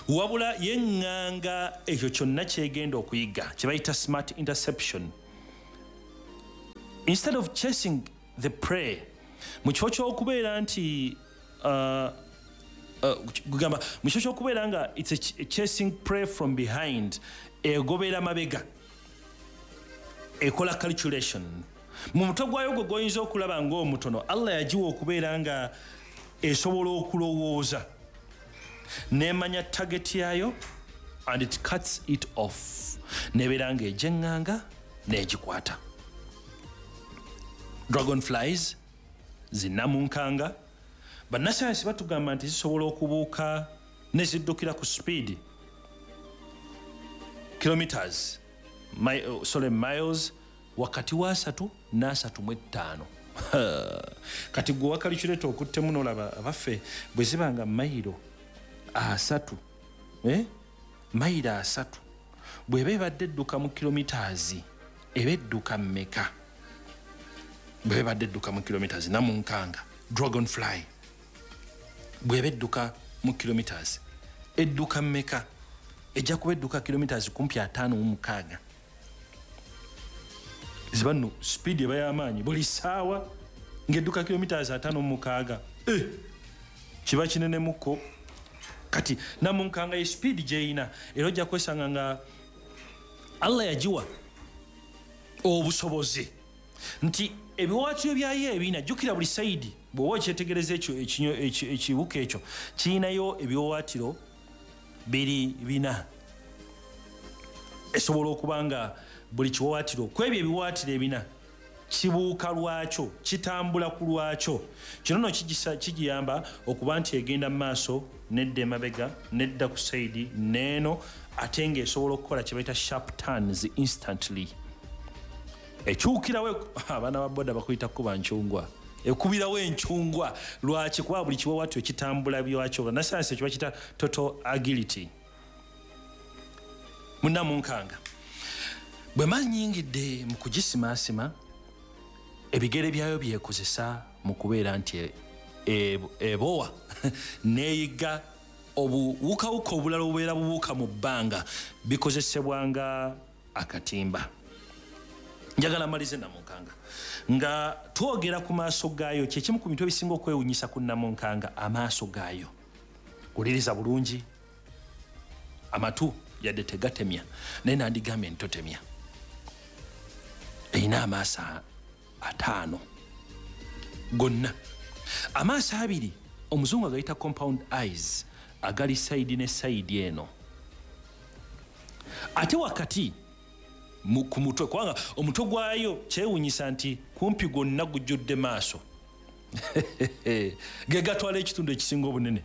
wabula yeŋŋanga ekyo kyonna kyegenda okuyigga kye bayita smart interception. Instead of chasing the prey, mu kifo ky'okubeera nti uh, uh, kugamba mu kifo ky'okubeera nga it's a ch chasing prey from behind, egobera mabega, ekola calculation mu mutwe gwayo gwe gwoyinza okulaba ng'omutono. Allah yagiwa okubeera nga esobola okulowooza nemanya target yayo and it cuts it off, nebeera ng'egyeŋŋanga n'egikwata. Dragonflies zinnamunkanga, bannasayansi batugamba nti zisobola okubuuka ne ziddukira ku speed kilometers my, uh, sorry, miles wakati wa asatu n'asatu mu ettaano. Kati gwe wakalikyuleeta okuttemu n'olaba abaffe bwe ziba nga mayiro asatu, eh? Mayiro asatu bw'eba ebadde edduka mu kilometers eba edduka mmeka? Bw'eba ebadde edduka mu kilometers, namunkanga dragonfly bw'eba edduka mu kilometers edduka mmeka? Ejja kuba edduka kilometers kumpi ataano mu mukaaga. Ziba nno speed eba y'amaanyi buli ssaawa ng'edduka kilometers ataano mu mukaaga, eh, kiba kinenemuko. Kati namunkanga ye speed gy'erina, era ojja kwesanga nga Allah yagiwa obusobozi nti ebiwaatiro byayo ebina, jjukira buli sayidi bw'oba okyetegereza ekyo ekiwuka ekyo kirinayo ebiwaatiro biri bina, esobola okuba nga buli kiwaatiro ku ebyo ebiwaatiro ebina kibuuka lwakyo, kitambula ku lwakyo. Kino nno kigiyamba okuba nti egenda mu maaso nedda emabega nedda ku sayidi neeno, ate ng'esobola okukola kye bayita sharp turns instantly. Ekyukirawo, abaana ba boda bakuyita kuba ncungwa, ekubirawo encungwa. Lwaki? Kuba buli kiwaatiro kitambula byakyo. Bannasayansi ekyo bakiyita total agility. Munnamunkanga bwe manyingidde mu kugisimaasima, ebigere byayo byekozesa mu kubeera nti ebowa neeyiga obuwukawuka obulala obubeera bubuuka mu bbanga, bikozesebwa nga akatimba. Njagala malize namunkanga nga twogera ku maaso gaayo. Kyekimu ku bintu ebisinga okwewunyisa ku namunkanga, amaaso gaayo. Wuliriza bulungi, amatu yadde tegatemya, naye nandigambye nti totemya. Erina amaaso ataano gonna. Amaaso abiri omuzungu agayita compound eyes, agali sayidi ne sayidi eno, ate wakati ku mutwe, kubanga omutwe gwayo kyewunyisa nti kumpi gwonna gujjudde maaso ge gatwala ekitundu ekisinga obunene.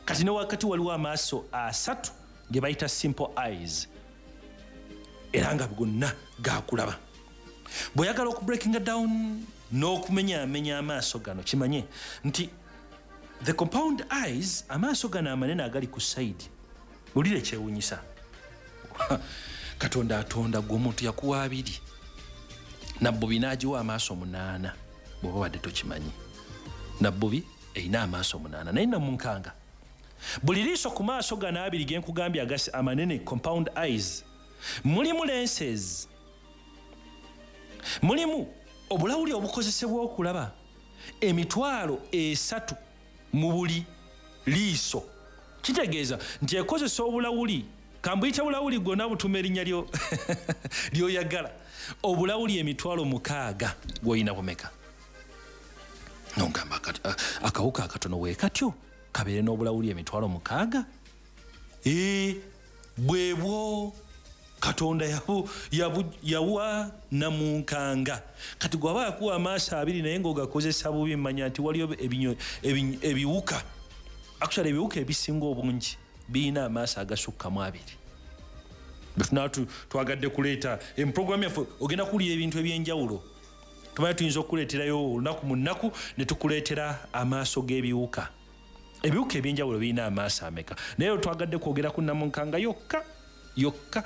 Kati ne wakati waliwo amaaso asatu ge bayita simple eyes, era nga gonna gakulaba. Bw'oyagala okubreakinga down n'okumenyaamenya amaaso gano, kimanye nti the compound eyes, amaaso gano amanene agali ku sayidi, wulire kyewunyisa, Katonda atonda gwe omuntu yakuwa abiri, nabbubi n'agiwa amaaso munaana. Bw'oba wadde tokimanyi, nabbubi erina amaaso munaana, naye namunkanga buli liiso ku maaso gano abiri ge nkugambye amanene compound eyes, mulimu lenses, mulimu obulawuli obukozesebwa okulaba emitwalo esatu mu buli liiso. Kitegeeza nti ekozesa obulawuli, kambuyita bulawuli gwonna butuma erinnya lyoyagala, obulawuli emitwalo mukaaga gw'olina bumeka? Nogamba akawuka akatono weekatyo kabeere n'obulawuli emitwalo mukaaga. E bwebwo Katonda yabu yabu yawa namunkanga. Kati gwaba yakuwa amaaso abiri naye ng'ogakozesa bubi, mmanya nti waliyo ebinyo ebiwuka. Actually ebiwuka ebisinga obungi birina amaaso agasukkamu abiri. Bwe twagadde kuleeta emprogramu yaffe, ogenda kuwulira ebintu ebyenjawulo. Tumanyi tuyinza okukuleeterayo olunaku mu nnaku ne tukuleetera amaaso g'ebiwuka. Ebiwuka ebyenjawulo birina amaaso ameka? Naye twagadde kwogera ku namunkanga yokka yokka.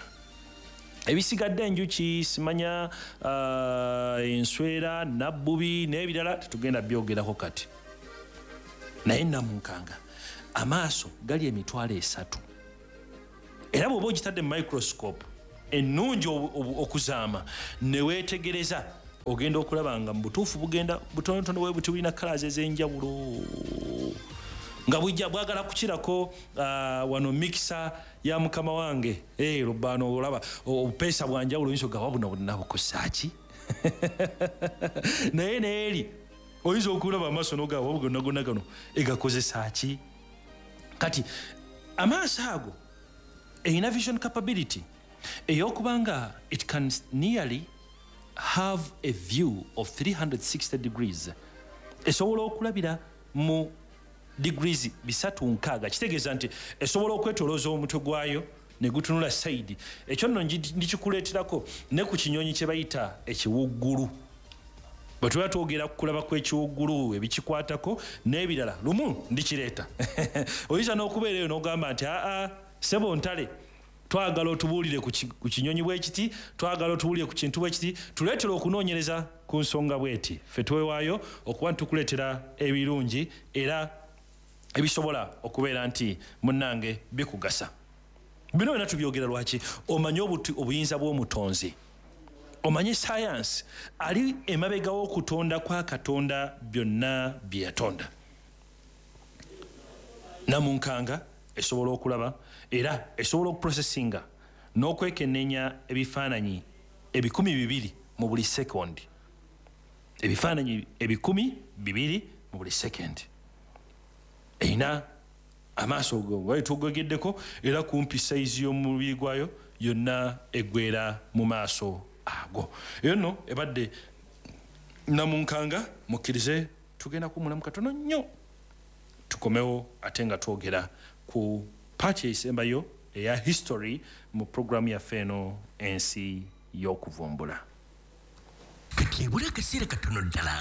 Ebisigadde enjuki, simanya uh, enswera, nabbubi n'ebirala tetugenda byogerako kati. Naye namunkanga amaaso gali emitwalo esatu. Era bw'oba ogitadde mu microscope ennungi okuzaama ne weetegereza, ogenda okulaba nga mu butuufu bugenda butonotono bwe buti, bulina colours ez'enjawulo nga bujja bwagala kukirako uh, wano mixer ya mukama wange eh lubano olaba obupeesa bwanjawulo oyinza ogaba buno bonna bukosa ki? Naye neeri oyinza okulaba amaaso n'ogaba gonna gonna gano egakozesa ki? Kati amaaso ago erina vision capability ey'okubanga it can nearly have a view of three hundred sixty degrees. Esobola okulabira mu degrees bisatu nkaaga. Kitegeeza nti esobola okwetolooza omutwe gwayo ne gutunula side. Ekyo nno ndikikuleeterako ne ku kinyonyi kye bayita ekiwuggulu. Bwe tuba twogera ku kulaba kw'ekiwuggulu, ebikikwatako n'ebirala, lumu ndikireeta. Oyinza n'okubeera eyo n'ogamba nti aa ssebo ntale, twagala otubuulire ku kinyonyi bwe kiti, twagala otubuulire ku kintu bwe kiti, tuleetere okunoonyereza ku nsonga bw'eti. Ffe twewaayo okuba ntukuleetera ebirungi era ebisobola okubeera nti munnange bikugasa. Bino byonna tubyogera lwaki? Omanye obuyinza bw'omutonzi, omanye sayansi ali emabega w'okutonda kwa Katonda byonna bye yatonda. Namunkanga esobola okulaba era esobola okuprocessinga n'okwekenneenya ebifaananyi ebikumi bibiri mu buli sekondi. Ebifaananyi ebikumi bibiri mu buli sekondi. Erina amaaso go tugogeddeko era kumpi sayizi y'omubiri gwayo yonna eggwera mu maaso ago. Eyo nno ebadde namunkanga. Mukkirize tugenda kuwummulamu katono nnyo, tukomewo ate nga twogera ku paati esembayo eya history mu programu yaffe eno ensi y'okuvumbula. Kati ebula akaseera katono ddala,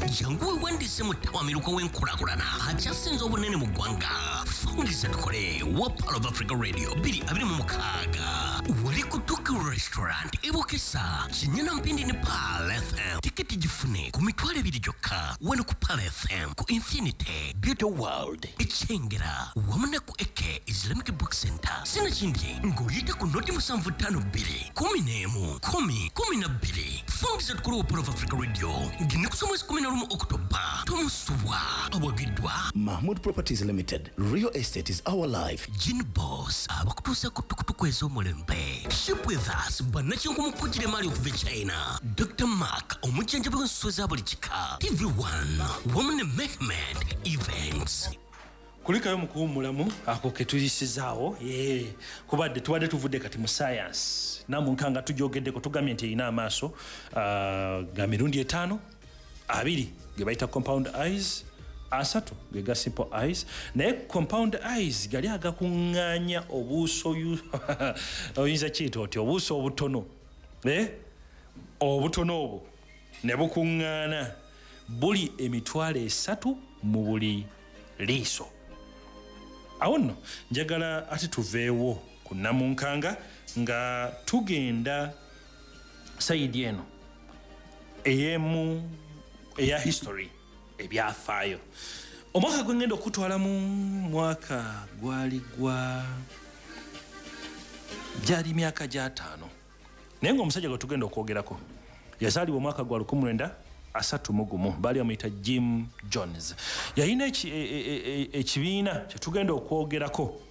jangu weewandiise mu ttawamiruka w'enkulaakulana akyasinze obunene mu ggwanga. Fungiza tukole wa Pearl of Africa Radio bbiri abiri mu mukaaga wali ku Tuki Restaurant e Bukesa, Kinyana Mpindi ne Pearl F M. Tiketi gifune ku mitwalo ebiri gyokka wano ku Pearl F M, ku Infinity Beauty World Ekyengera wamu ne ku Eke Islamic Book Center. Sinakindi ng'oyita ku noti musanvu ttaano bbiri kumi n'emu kumi kumi na bbiri. Fungiza tukole wa Pearl of Africa Radio ng'ennaku z'omwezi kumi na lumu Oktoba. Tomusubwa awagiddwa Mahmood Properties Limited. Real estate is our life. Gin Boss abakutuusa ku tukutuku ez'omulembe. Ship with us bannakinku mu kugira emaali okuva e China. Doctor Mark omujjanjabi w'ensolo za buli kika. T V one wamu ne Mehmed Events. Kulikayo mu kuwummulamu ako ke tuyisizaawo. Yee, kubadde tubadde tuvudde kati mu science. Namunkanga tugyogeddeko, tugambye nti erina amaaso uh, ga mirundi etaano, abiri ge bayita compound eyes, asatu ge ga simple eyes. Naye compound eyes gali agakuŋŋaanya obuuso oyinza kiyita otya obuuso obutono, eh? Obutono obwo ne bukuŋŋaana buli emitwalo esatu mu buli liiso. Awo nno njagala ate tuveewo ku namunkanga nga tugenda sayidi eno ey'emu eya history, ebyafaayo. Omwaka gwe ngenda okutwala mu mwaka gwali gwa gyali myaka gy'ataano, naye ng'omusajja gwe tugenda okwogerako yazaalibwa omwaka gwa lukumi lwenda asatu mu gumu, baali bamuyita Jim Jones. Yalina ekibiina kye tugenda okwogerako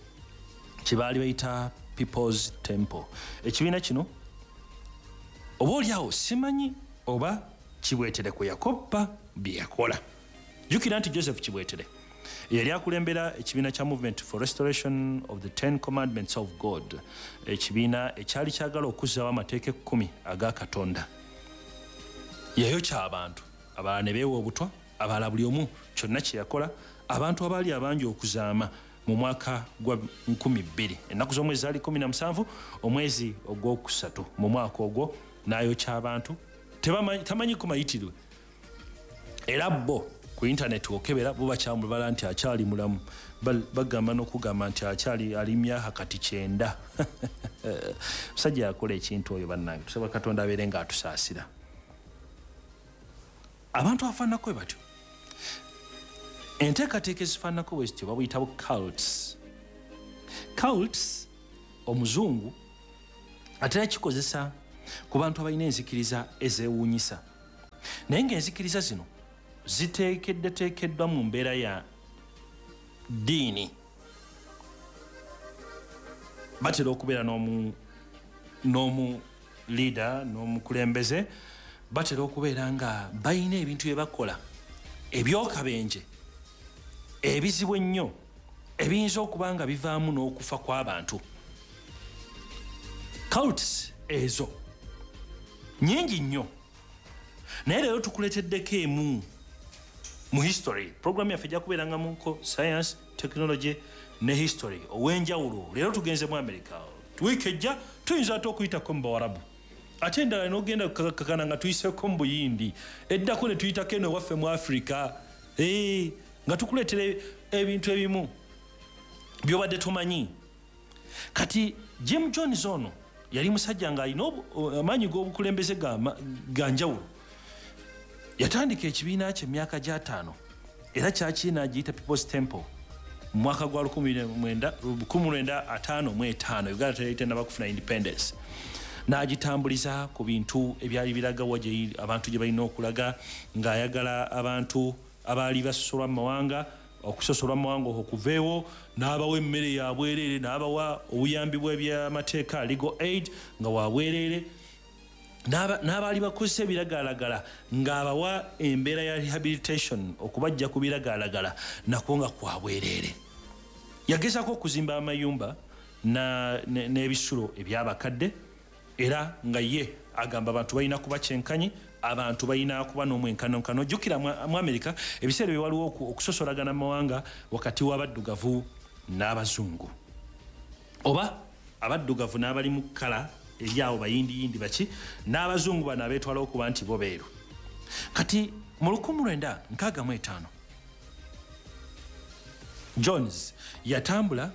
kye baali bayita People's Temple. Ekibiina kino oba oliawo simanyi oba Kibwetere kwe yakoppa bye yakola. Jjukira nti Joseph Kibwetere Eyali akulembera ekibiina kya Movement for Restoration of the Ten Commandments of God, ekibiina ekyali kyagala okuzzaawo amateeka ekkumi aga Katonda. Yayokya abantu, abalala ne beewa obutwa, abalala buli omu kyonna kye yakola, abantu abaali abangi okuzaama mu mwaka gwa nkumi bbiri. Ennaku z'omwezi zaali kkumi na musanvu, omwezi ogwokusatu mu mwaka ogwo n'ayokya abantu, tamanyi kumayitirwe. Era bo ku internet okebera bo bakyamubala nti akyali mulamu, bagamba n'okugamba nti akyali ali myaka kati kyenda. Musajja yakola ekintu oyo bannange, tusaba Katonda abeere ng'atusaasira. Abantu afaananako bwe batyo, enteekateeka ezifaananako bwe zityo babuyita bu cults. Cults omuzungu atera kikozesa ku bantu abalina enzikiriza ezeewuunyisa, naye ng'enzikiriza zino ziteekeddeteekeddwa mu mbeera ya ddiini. Batera okubeera n'omu n'omu leader n'omukulembeze, batera okubeera nga balina ebintu bye bakola ebyokabenje ebizibu ennyo ebiyinza okuba nga bivaamu n'okufa kw'abantu. Cults ezo nnyingi nnyo, naye leero tukuleeteddeko emu mu history. Program yaffe ejja kubeerangamuko science, technology ne history ow'enjawulo. Leero tugenze mu America, wiiki ejja tuyinza ate okuyitako mu Bawarabu, ate endala n'ogenda kakana nga tuyiseko mu Buyindi, eddako ne tuyitako eno ewaffe mu Africa, ee nga tukuleetera ebintu ebimu by'obadde tomanyi. Kati Jim Jones ono yali musajja ng'alina amaanyi g'obukulembeze ga njawulo. Yatandika ekibiina kye emyaka gy'ataano era kyakiina agiyita People's Temple mu mwaka gwa lukumi lwenda ataano mu etaano. Uganda teyali tennaba kufuna independence. N'agitambuliza ku bintu ebyali biraga wa abantu gye balina okulaga, ng'ayagala abantu abaali basosolwa mu mawanga okusosolwa mu mawanga okwo kuveewo, n'abawa emmere ya bwereere, n'abawa obuyambi bw'ebyamateeka legal aid nga wa bwereere, n'abaali bakozesa ebiragalalagala ng'abawa embeera ya rehabilitation okubajja ku biragalalagala nakwo nga kwa bwereere. Yagezaako okuzimba amayumba n'ebisulo eby'abakadde, era nga ye agamba abantu balina kuba kyenkanyi, abantu balina kuba n'omwenkanonkano. Jjukira mu Amerika ebiseera bye waliwo okusosolagana mu mawanga wakati w'abaddugavu n'abazungu, oba abaddugavu n'abali mu kkala eryawo bayindiyindi baki, n'abazungu bano abeetwala okuba nti bo beeru. Kati mu lukumi lwenda nkaaga mu etaano Jones yatambula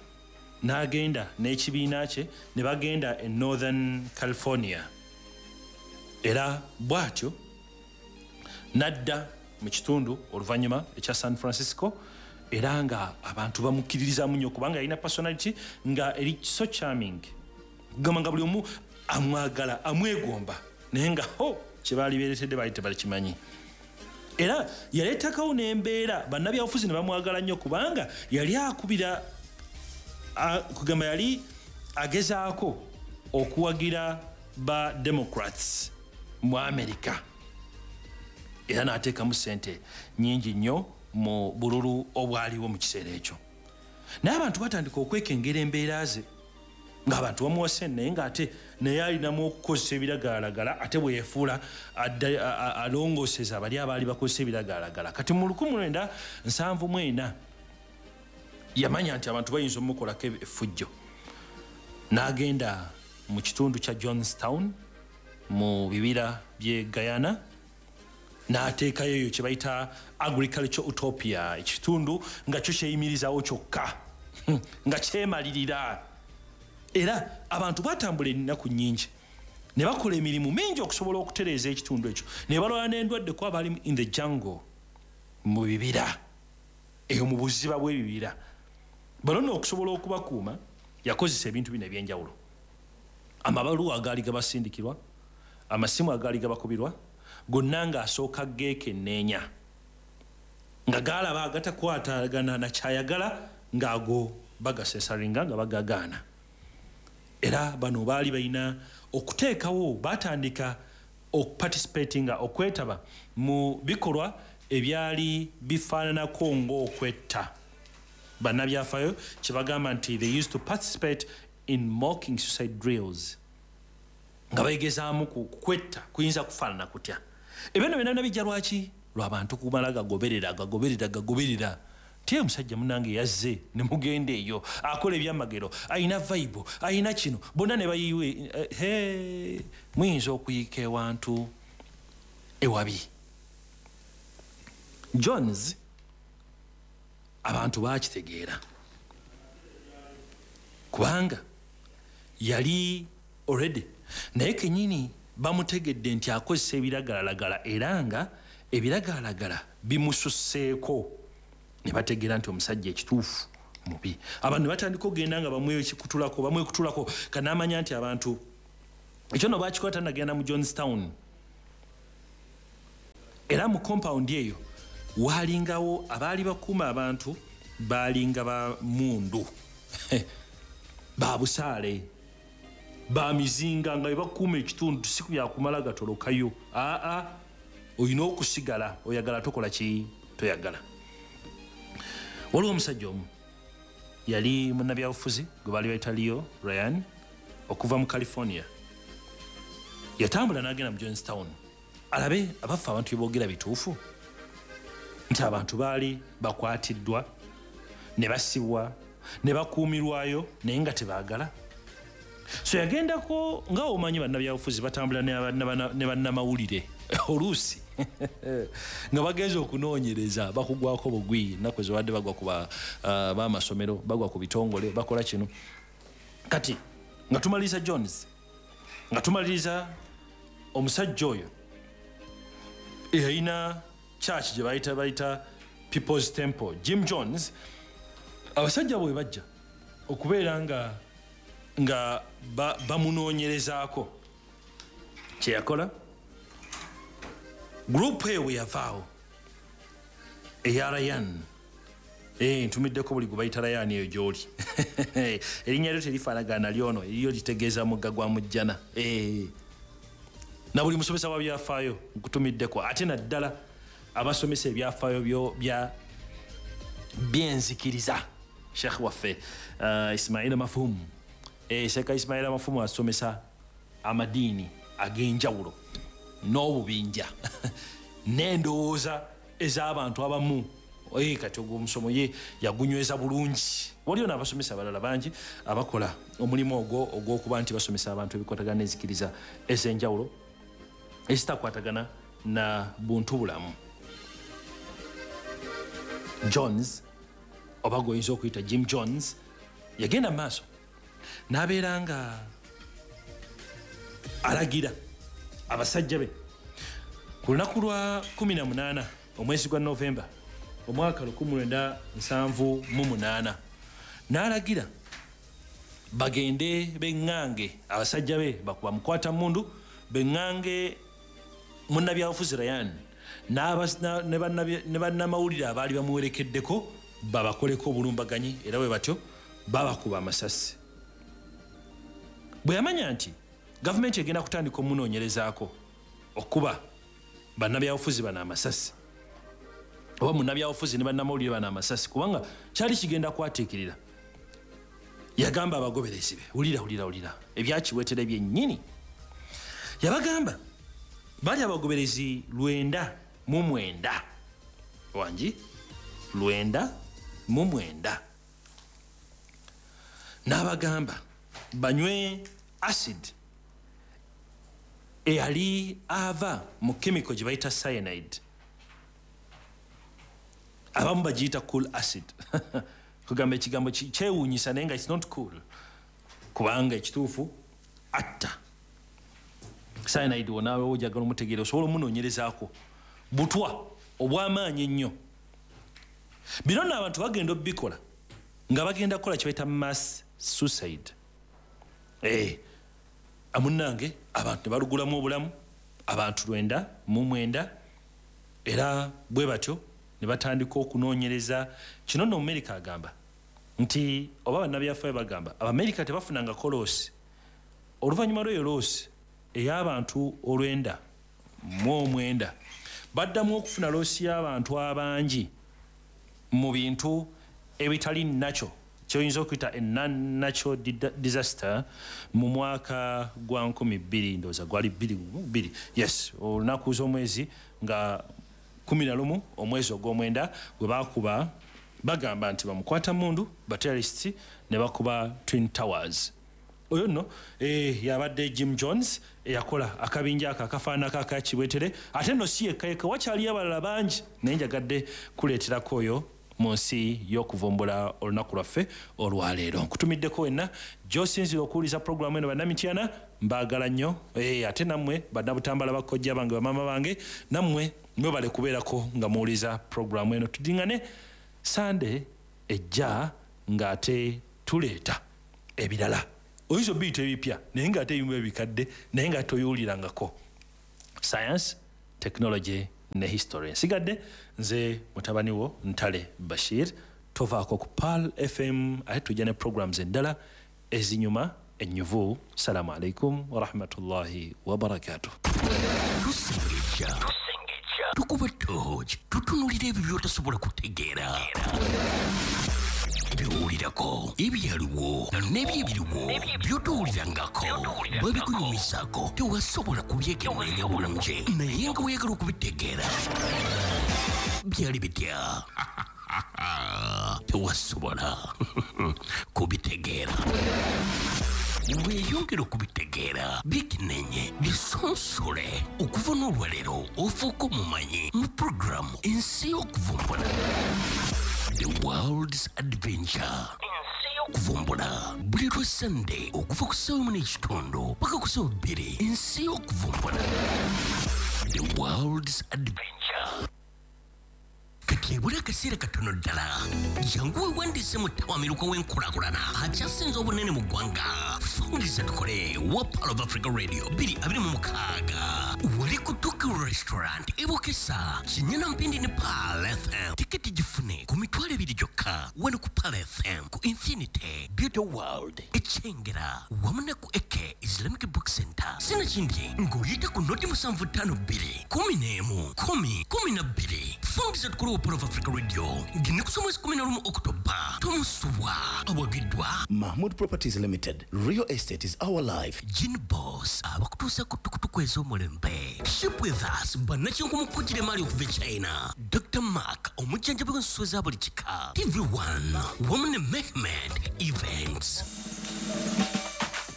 n'agenda n'ekibiina kye ne bagenda e Northern California, era bw'atyo n'adda mu kitundu oluvannyuma ekya San Francisco, era nga abantu bamukkiririzaamu nnyo kubanga yalina personality nga eri so charming, kugamba nga buli omu amwagala amwegomba, naye nga ho kye baali beeretedde baali tebakimanyi. Era yaleetakawo n'embeera bannabyabufuzi ne bamwagala nnyo kubanga yali akubira, kugamba yali agezaako okuwagira ba Democrats mu America, era n'ateekamu ssente nnyingi nnyo mu bululu obwaliwo mu kiseera ekyo. Naye abantu batandika okwekengera embeera ze, ng'abantu bamuwa ssente naye ng'ate naye alinamu okukozesa ebiragalalagala, ate bwe yeefuula alongooseza bali abaali bakozesa ebiragalalagala. Kati mu lukumi lwenda nsanvu mu ena yamanya nti abantu bayinza omukolako effujjo, n'agenda mu kitundu kya Jonestown mu bibira by'e Guyana, n'ateekayo eyo kye bayita agriculture utopia, ekitundu nga kyo kyeyimirizaawo kyokka nga kyemalirira. Era abantu batambula ennaku nnyingi ne bakola emirimu mingi okusobola okutereeza ekitundu ekyo, ne balwala n'endwadde kuba baali in the jungle, mu bibira eyo mu buziba bw'ebibira. Bano nno okusobola okubakuuma yakozesa ebintu bino ebyenjawulo: amabaluwa agaali gabasindikirwa, amasimu agaali gabakubirwa, gonna ng'asooka geekenneenya nga galaba agatakwatagana na kyayagala, ng'ago bagasesaringa nga bagagaana. Era bano baali balina okuteekawo, batandika okuparticipatinga, okwetaba mu bikolwa ebyali bifaananako ng'okwetta. Bannabyafayo kyebagamba nti they used to participate in mocking suicide drills, nga bayigezaamu kwetta kuyinza kufaanana kutya. Ebyo nno byonna bijja lwaki? Lw'abantu kumala gagoberera gagoberera gagoberera. Tiye omusajja munnange yazze ne mugenda eyo akola ebyamagero, ayina vibe, ayina kino, bonna ne bayiwe. He, muyinza okuyiika ewantu ewabi. Jones abantu baakitegeera kubanga yali already naye kennyini bamutegedde nti akozesa ebiragalalagala, era nga ebiragalalagala bimususseeko, ne bategeera nti omusajja ekituufu mubi. Abantu ne batandika okugenda nga bamwekutulako bamwekutulako, kanamanya nti abantu ekyo nno baakikola tannagenda mu Jonestown. Era mu compound eyo waalingawo abaali bakuuma abantu, baalinga ba mundu ba busaale ba mizinga, nga bebakuuma ekitundu si byakumala gatolokayo. Aa, olina okusigala, oyagala tokola ki toyagala. Waliwo omusajja omu yali munnabyabufuzi gwe baali bayita Leo Ryan okuva mu California. Yatambula n'agenda mu Jonestown alabe abaffe abantu bye boogera bituufu, nti abantu baali bakwatiddwa ne basibwa ne bakuumirwayo naye nga tebaagala. So yagendako, nga omanyi bannabyabufuzi batambula ne bannamawulire oluusi nga bagenze okunoonyereza bakugwako bugwi, ennaku ezibadde bagwa ku b'amasomero, bagwa ku bitongole, bakola kino. Kati nga tumaliriza Jones, nga tumaliriza omusajja oyo eyalina church gye bayita bayita People's Temple, Jim Jones. Abasajja bwe bajja okubeera nga nga bamunoonyerezaako, kye yakola group eyo bwe yavaawo eya Ryan, eh, ntumiddeko buli gwe bayita Ryan eyo gy'oli erinnya lyo terifaanagana lyono, eriyo litegeeza mugga gwa mujjana. Eh, na buli musomesa wa byafaayo nkutumiddeko, ate naddala abasomesa ebyafaayo byo bya byenzikiriza. Sheikh waffe uh, Ismaila Mafumu, eh, Sheikh Ismaila Mafumu asomesa amadiini ag'enjawulo n'obubinja n'endowooza ez'abantu abamu. Eh, kati ogwo omusomo ye yagunyweza bulungi. Waliyo n'abasomesa abalala bangi abakola omulimu ogwo ogw'okuba nti basomesa abantu ebikwatagana n'enzikiriza ez'enjawulo ezitakwatagana na buntu bulamu. Jones oba gw'oyinza okuyita Jim Jones yagenda mu maaso n'abeera nga alagira abasajja be ku lunaku lwa kumi na munaana omwezi gwa Novemba omwaka lukumi lwenda nsanvu mu munaana, n'alagira bagende beŋŋange abasajja be bakuba mukwata mundu, beŋŋange munnabyabufuzi Ryan ne bannamawulire abaali bamuwerekeddeko babakoleko obulumbaganyi, era bwe batyo babakuba amasasi. Bwe yamanya nti gavumenti egenda kutandika omunoonyerezaako okuba bannabyabufuzi bano amasasi, oba munnabyabufuzi ne bannamawulire bano amasasi, kubanga kyali kigenda kwatiikirira, yagamba abagoberezi be, wulira wulira wulira ebyakiweetera byennyini. Yabagamba bali abagoberezi lwenda mu mwenda, wangi lwenda mu mwenda, n'abagamba banywe acid eyali ava mu chemical gye bayita cyanide, abamu bagiyita cool acid kugamba ekigambo kyewuunyisa naye nga it's not cool, kubanga ekituufu atta. Cyanide wonaawe ojagala omutegeera osobola omunoonyerezaako butwa obw'amaanyi ennyo. Bino nno abantu bagenda obikola nga bagenda kukola kye bayita mass suicide. Eh, amunnange abantu ne balugulamu obulamu, abantu lwenda mu mwenda, era bwe batyo ne batandika okunoonyereza. Kino nno Omumerika agamba nti oba bannabyafaayo bagamba Abamerika tebafunangako loosi oluvannyuma lw'eyo loosi ey'abantu olwenda mu omwenda, baddamu okufuna loosi y'abantu abangi mu bintu Ebitali nakyo kyoyinza okuyita a non-natural disaster mu mwaka gwa nkumi bbiri, ndowooza gwali bbiri bbiri, yes, olunaku z'omwezi nga kumi na lumu omwezi ogw'omwenda gwe baakuba, bagamba nti bamukwata mundu ba terrorists ne bakuba Twin Towers. Oyo nno eh, yabadde Jim Jones eyakola akabinja ako akafaananako aka Kibwetere. Ate nno si yekka yekka, wakyaliyo abalala bangi, naye njagadde kuleeterako oyo mu nsi y'okuvumbula olunaku lwaffe olwaleero. Nkutumiddeko wenna gy'osinzira okuwuliza puroguramu eno. Bannamityana mbaagala nnyo, eh, ate nammwe bannabutambala, bakojja bange, bamaama bange, nammwe mwebale kubeerako nga muwuliza puroguramu eno. Tudiŋŋane Sande ejja ng'ate tuleeta ebirala, oyinza obiyita ebipya naye ng'ate ebimu ebikadde naye nga toyiwulirangako. Science, technology ne history. Nsigadde nze mutabani wo Ntale Bashir. Tovaako ku Pearl F M, ate tujja ne programs endala ezinyuma ennyuvu. Salamu alaikum warahmatullahi wabarakatuh. Tusengejja, tukuba toji, tutunulira ebyo by'otasobola kutegeera, byowulirako, ebyaliwo n'ebyebiriwo by'otowulirangako, babikunyumizaako tewasobola kubyekenneenya bulungi, naye nga weeyagala okubitegeera byali bitya tewasobola kubitegeera. Weeyongera okubitegeera, bikenenye, bisonsole. Okuva n'olwaleero ofuuka omumanyi mu puroguramu Ensi y'Okuvumbula, The World's Adventure. Ensi y'Okuvumbula buli lwa Sande okuva ku ssaawa emu n'ekitundu paka ku ssaawa bbiri. Ensi y'Okuvumbula, The World's Adventure. Kati ebula akaseera katono ddala, jangu weewandiise mu ttawamiruka w'enkulaakulana akyasinze obunene mu ggwanga. Fungiza tukole wa Pearl of Africa Radio bbiri abiri mu mukaaga wali ku Tuki Restaurant ebukesa Kinyana Mpindi ne Pearl F M. Tiketi gifune ku mitwalo ebiri gyokka wano ku Pearl F M, ku Infinity Beauty World Ekyengera wamu ne ku Eke Islamic Book Center. Sinakindi ng'oyita ku noti musanvu ttaano bbiri kumi n'emu kumi kumi na bbiri. Fungiza tukole wa Pearl of Africa Radio ngine kusoma mwezi kumi na lumu Oktoba. Tomusubwa awagiddwa Mahmood Properties Limited. Real estate is our life. Gin Boss abakutuusa ku tukutuku ez'omulembe. Ship with us bannakinku mu kujira emmaali okuva e China. Doctor Mark omujjanjabi w'ensolo za buli kika. T V one wamu ne Mehmed Events.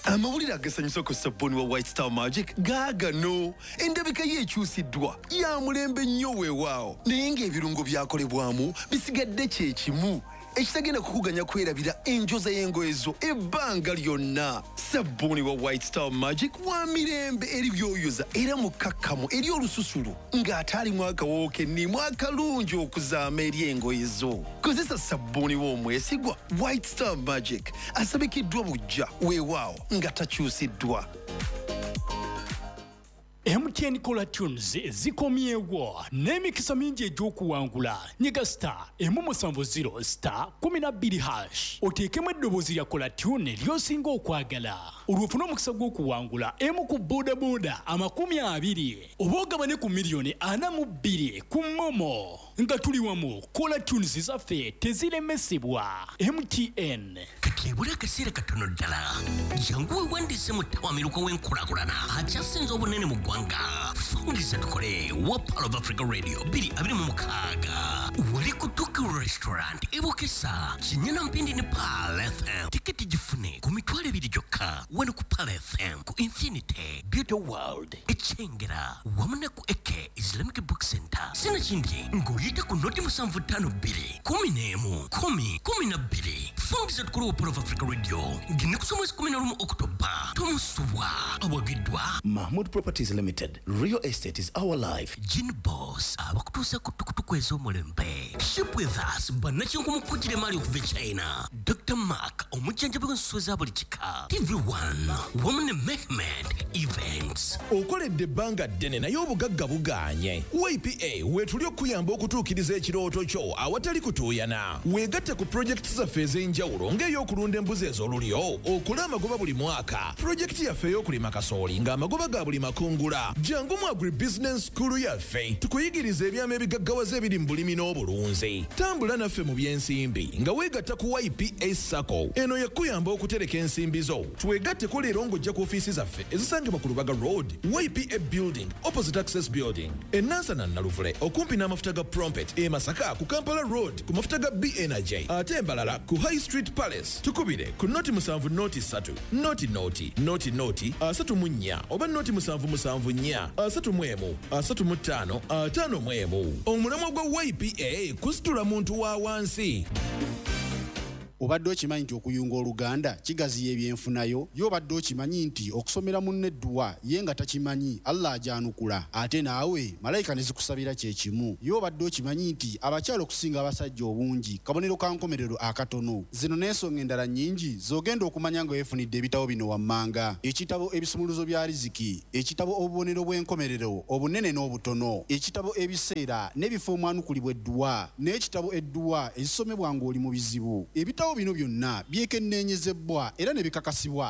Amawulire agasanyusa ku sabbuuni wa White Star Magic gaagano. Endabika ye ekyusiddwa ya mulembe nnyo weewaawo, naye ng'ebirungo byakolebwamu bisigadde kye kimu ekitagenda kukuganya kwerabira enjoza y'engoye zo ebbanga lyonna. Sabbuuni wa White Star Magic wa mirembe eri byoyoza era mukkakkamu eri olususulu ng'ate alimu akawoowo kennimu akalungi okuzaama eri engoye zo. Kozesa sabbuuni w'omwesigwa White Star Magic asabikiddwa buggya weewaawo nga takyusiddwa. M T N Caller Tunes zikomyewo n'emikisa mingi egy'okuwangula. Nyiga star emu musanvu zero star kumi na bbiri hash oteekemu eddoboozi lya Caller Tune ly'osinga okwagala, olwo ofune omukisa gw'okuwangula emu ku boodabooda amakumi abiri oba ogabane ku miliyoni ana mu bbiri ku momo. Nga tuli wamu, Caller Tunes zaffe teziremesebwa. M T N. Kati ebula akaseera katono ddala, jangu weewandiise mu ttawamiruka w'enkulaakulana akyasinze obunene mu ggwanga. Fungiza tukole wa Pearl of Africa Radio bbiri abiri mu mukaaga wali ku Tuki Restaurant ebukesa Kinyana Mpindi ne Pearl F M. Tiketi gifune ku mitwalo ebiri gyokka wano ku Pearl F M, ku Infinity Beauty World Ekyengera wamu ne ku Eke Islamic Book Center. Sinakindi ng'oyita ku noti musanvu ttaano bbiri kumi n'emu kumi kumi na bbiri. Fungiza tukole wa Pearl of Africa Radio ngine kusoma mwezi kumi na lumu Oktoba. Tomusubwa awagiddwa Mahmood Properties Limited. Real estate is our life. Gin Boss abakutuusa ku tukutuku ez'omulembe. Ship with us bannakinku mu kujira emmaali okuva e China. Doctor Mark omujjanjabi w'ensolo za buli kika. T V one wamu ne Mehmed Events. Okoledde ebbanga ddene naye obugagga bugaanye. Y P A weetuli okuyamba okutuukiriza ekirooto kyo awatali kutuuyana. Weegatte ku pulojekiti zaffe ez'enjawulo ng'ey'okulunda embuzi ez'olulyo, Okole amagoba buli mwaka. Pulojekiti yaffe ey'okulima kasooli ng'amagoba ga buli makungula. Jangu mu Agribusiness School yaffe tukuyigiriza ebyama ebigaggawaza ebiri mu bulimi n'obulunzi. Tambula naffe mu by'ensimbi nga weegatta ku Y P A SACCO. Eno yakuyamba okutereka ensimbi zo. Twegatteko leero ng'ojja ku ofiisi zaffe ezisangibwa ku Lubaga Road, Y P A Building, opposite Access Building, e Nansana Naluvule okumpi n'amafuta ga Prompet, e Masaka ku Kampala Road ku mafuta ga B Energy, ate embalala ku High Street Palace. Tukubire ku noti musanvu noti ssatu noti noti noti noti asatu mu nnya oba noti musanvu musanvu nnya asatu mu emu asatu mu ttaano ataano mu emu. Omulamwa gwa Y P A kusitula muntu wa wansi. Obadde okimanyi nti okuyunga oluganda kigaziya ebyenfunayo? Ye obadde okimanyi nti okusomera munno edduwa ye nga takimanyi, Allah agyanukula, ate naawe malayika ne zikusabira kyekimu? Ye obadde okimanyi nti abakyala okusinga abasajja obungi kabonero ka nkomerero akatono? Zino n'ensonga endala nnyingi z'ogenda okumanya nga weefunidde ebitabo bino wammanga: ekitabo Ebisumuluzo bya Riziki, ekitabo Obubonero bw'Enkomerero Obunene n'Obutono, ekitabo Ebiseera n'Ebifo Omwanukulibwa Edduwa, n'ekitabo Edduwa Ezisomebwa Ng'oli mu Bizibu. Ebitabo bino byonna byekenneenyezebwa era ne bikakasibwa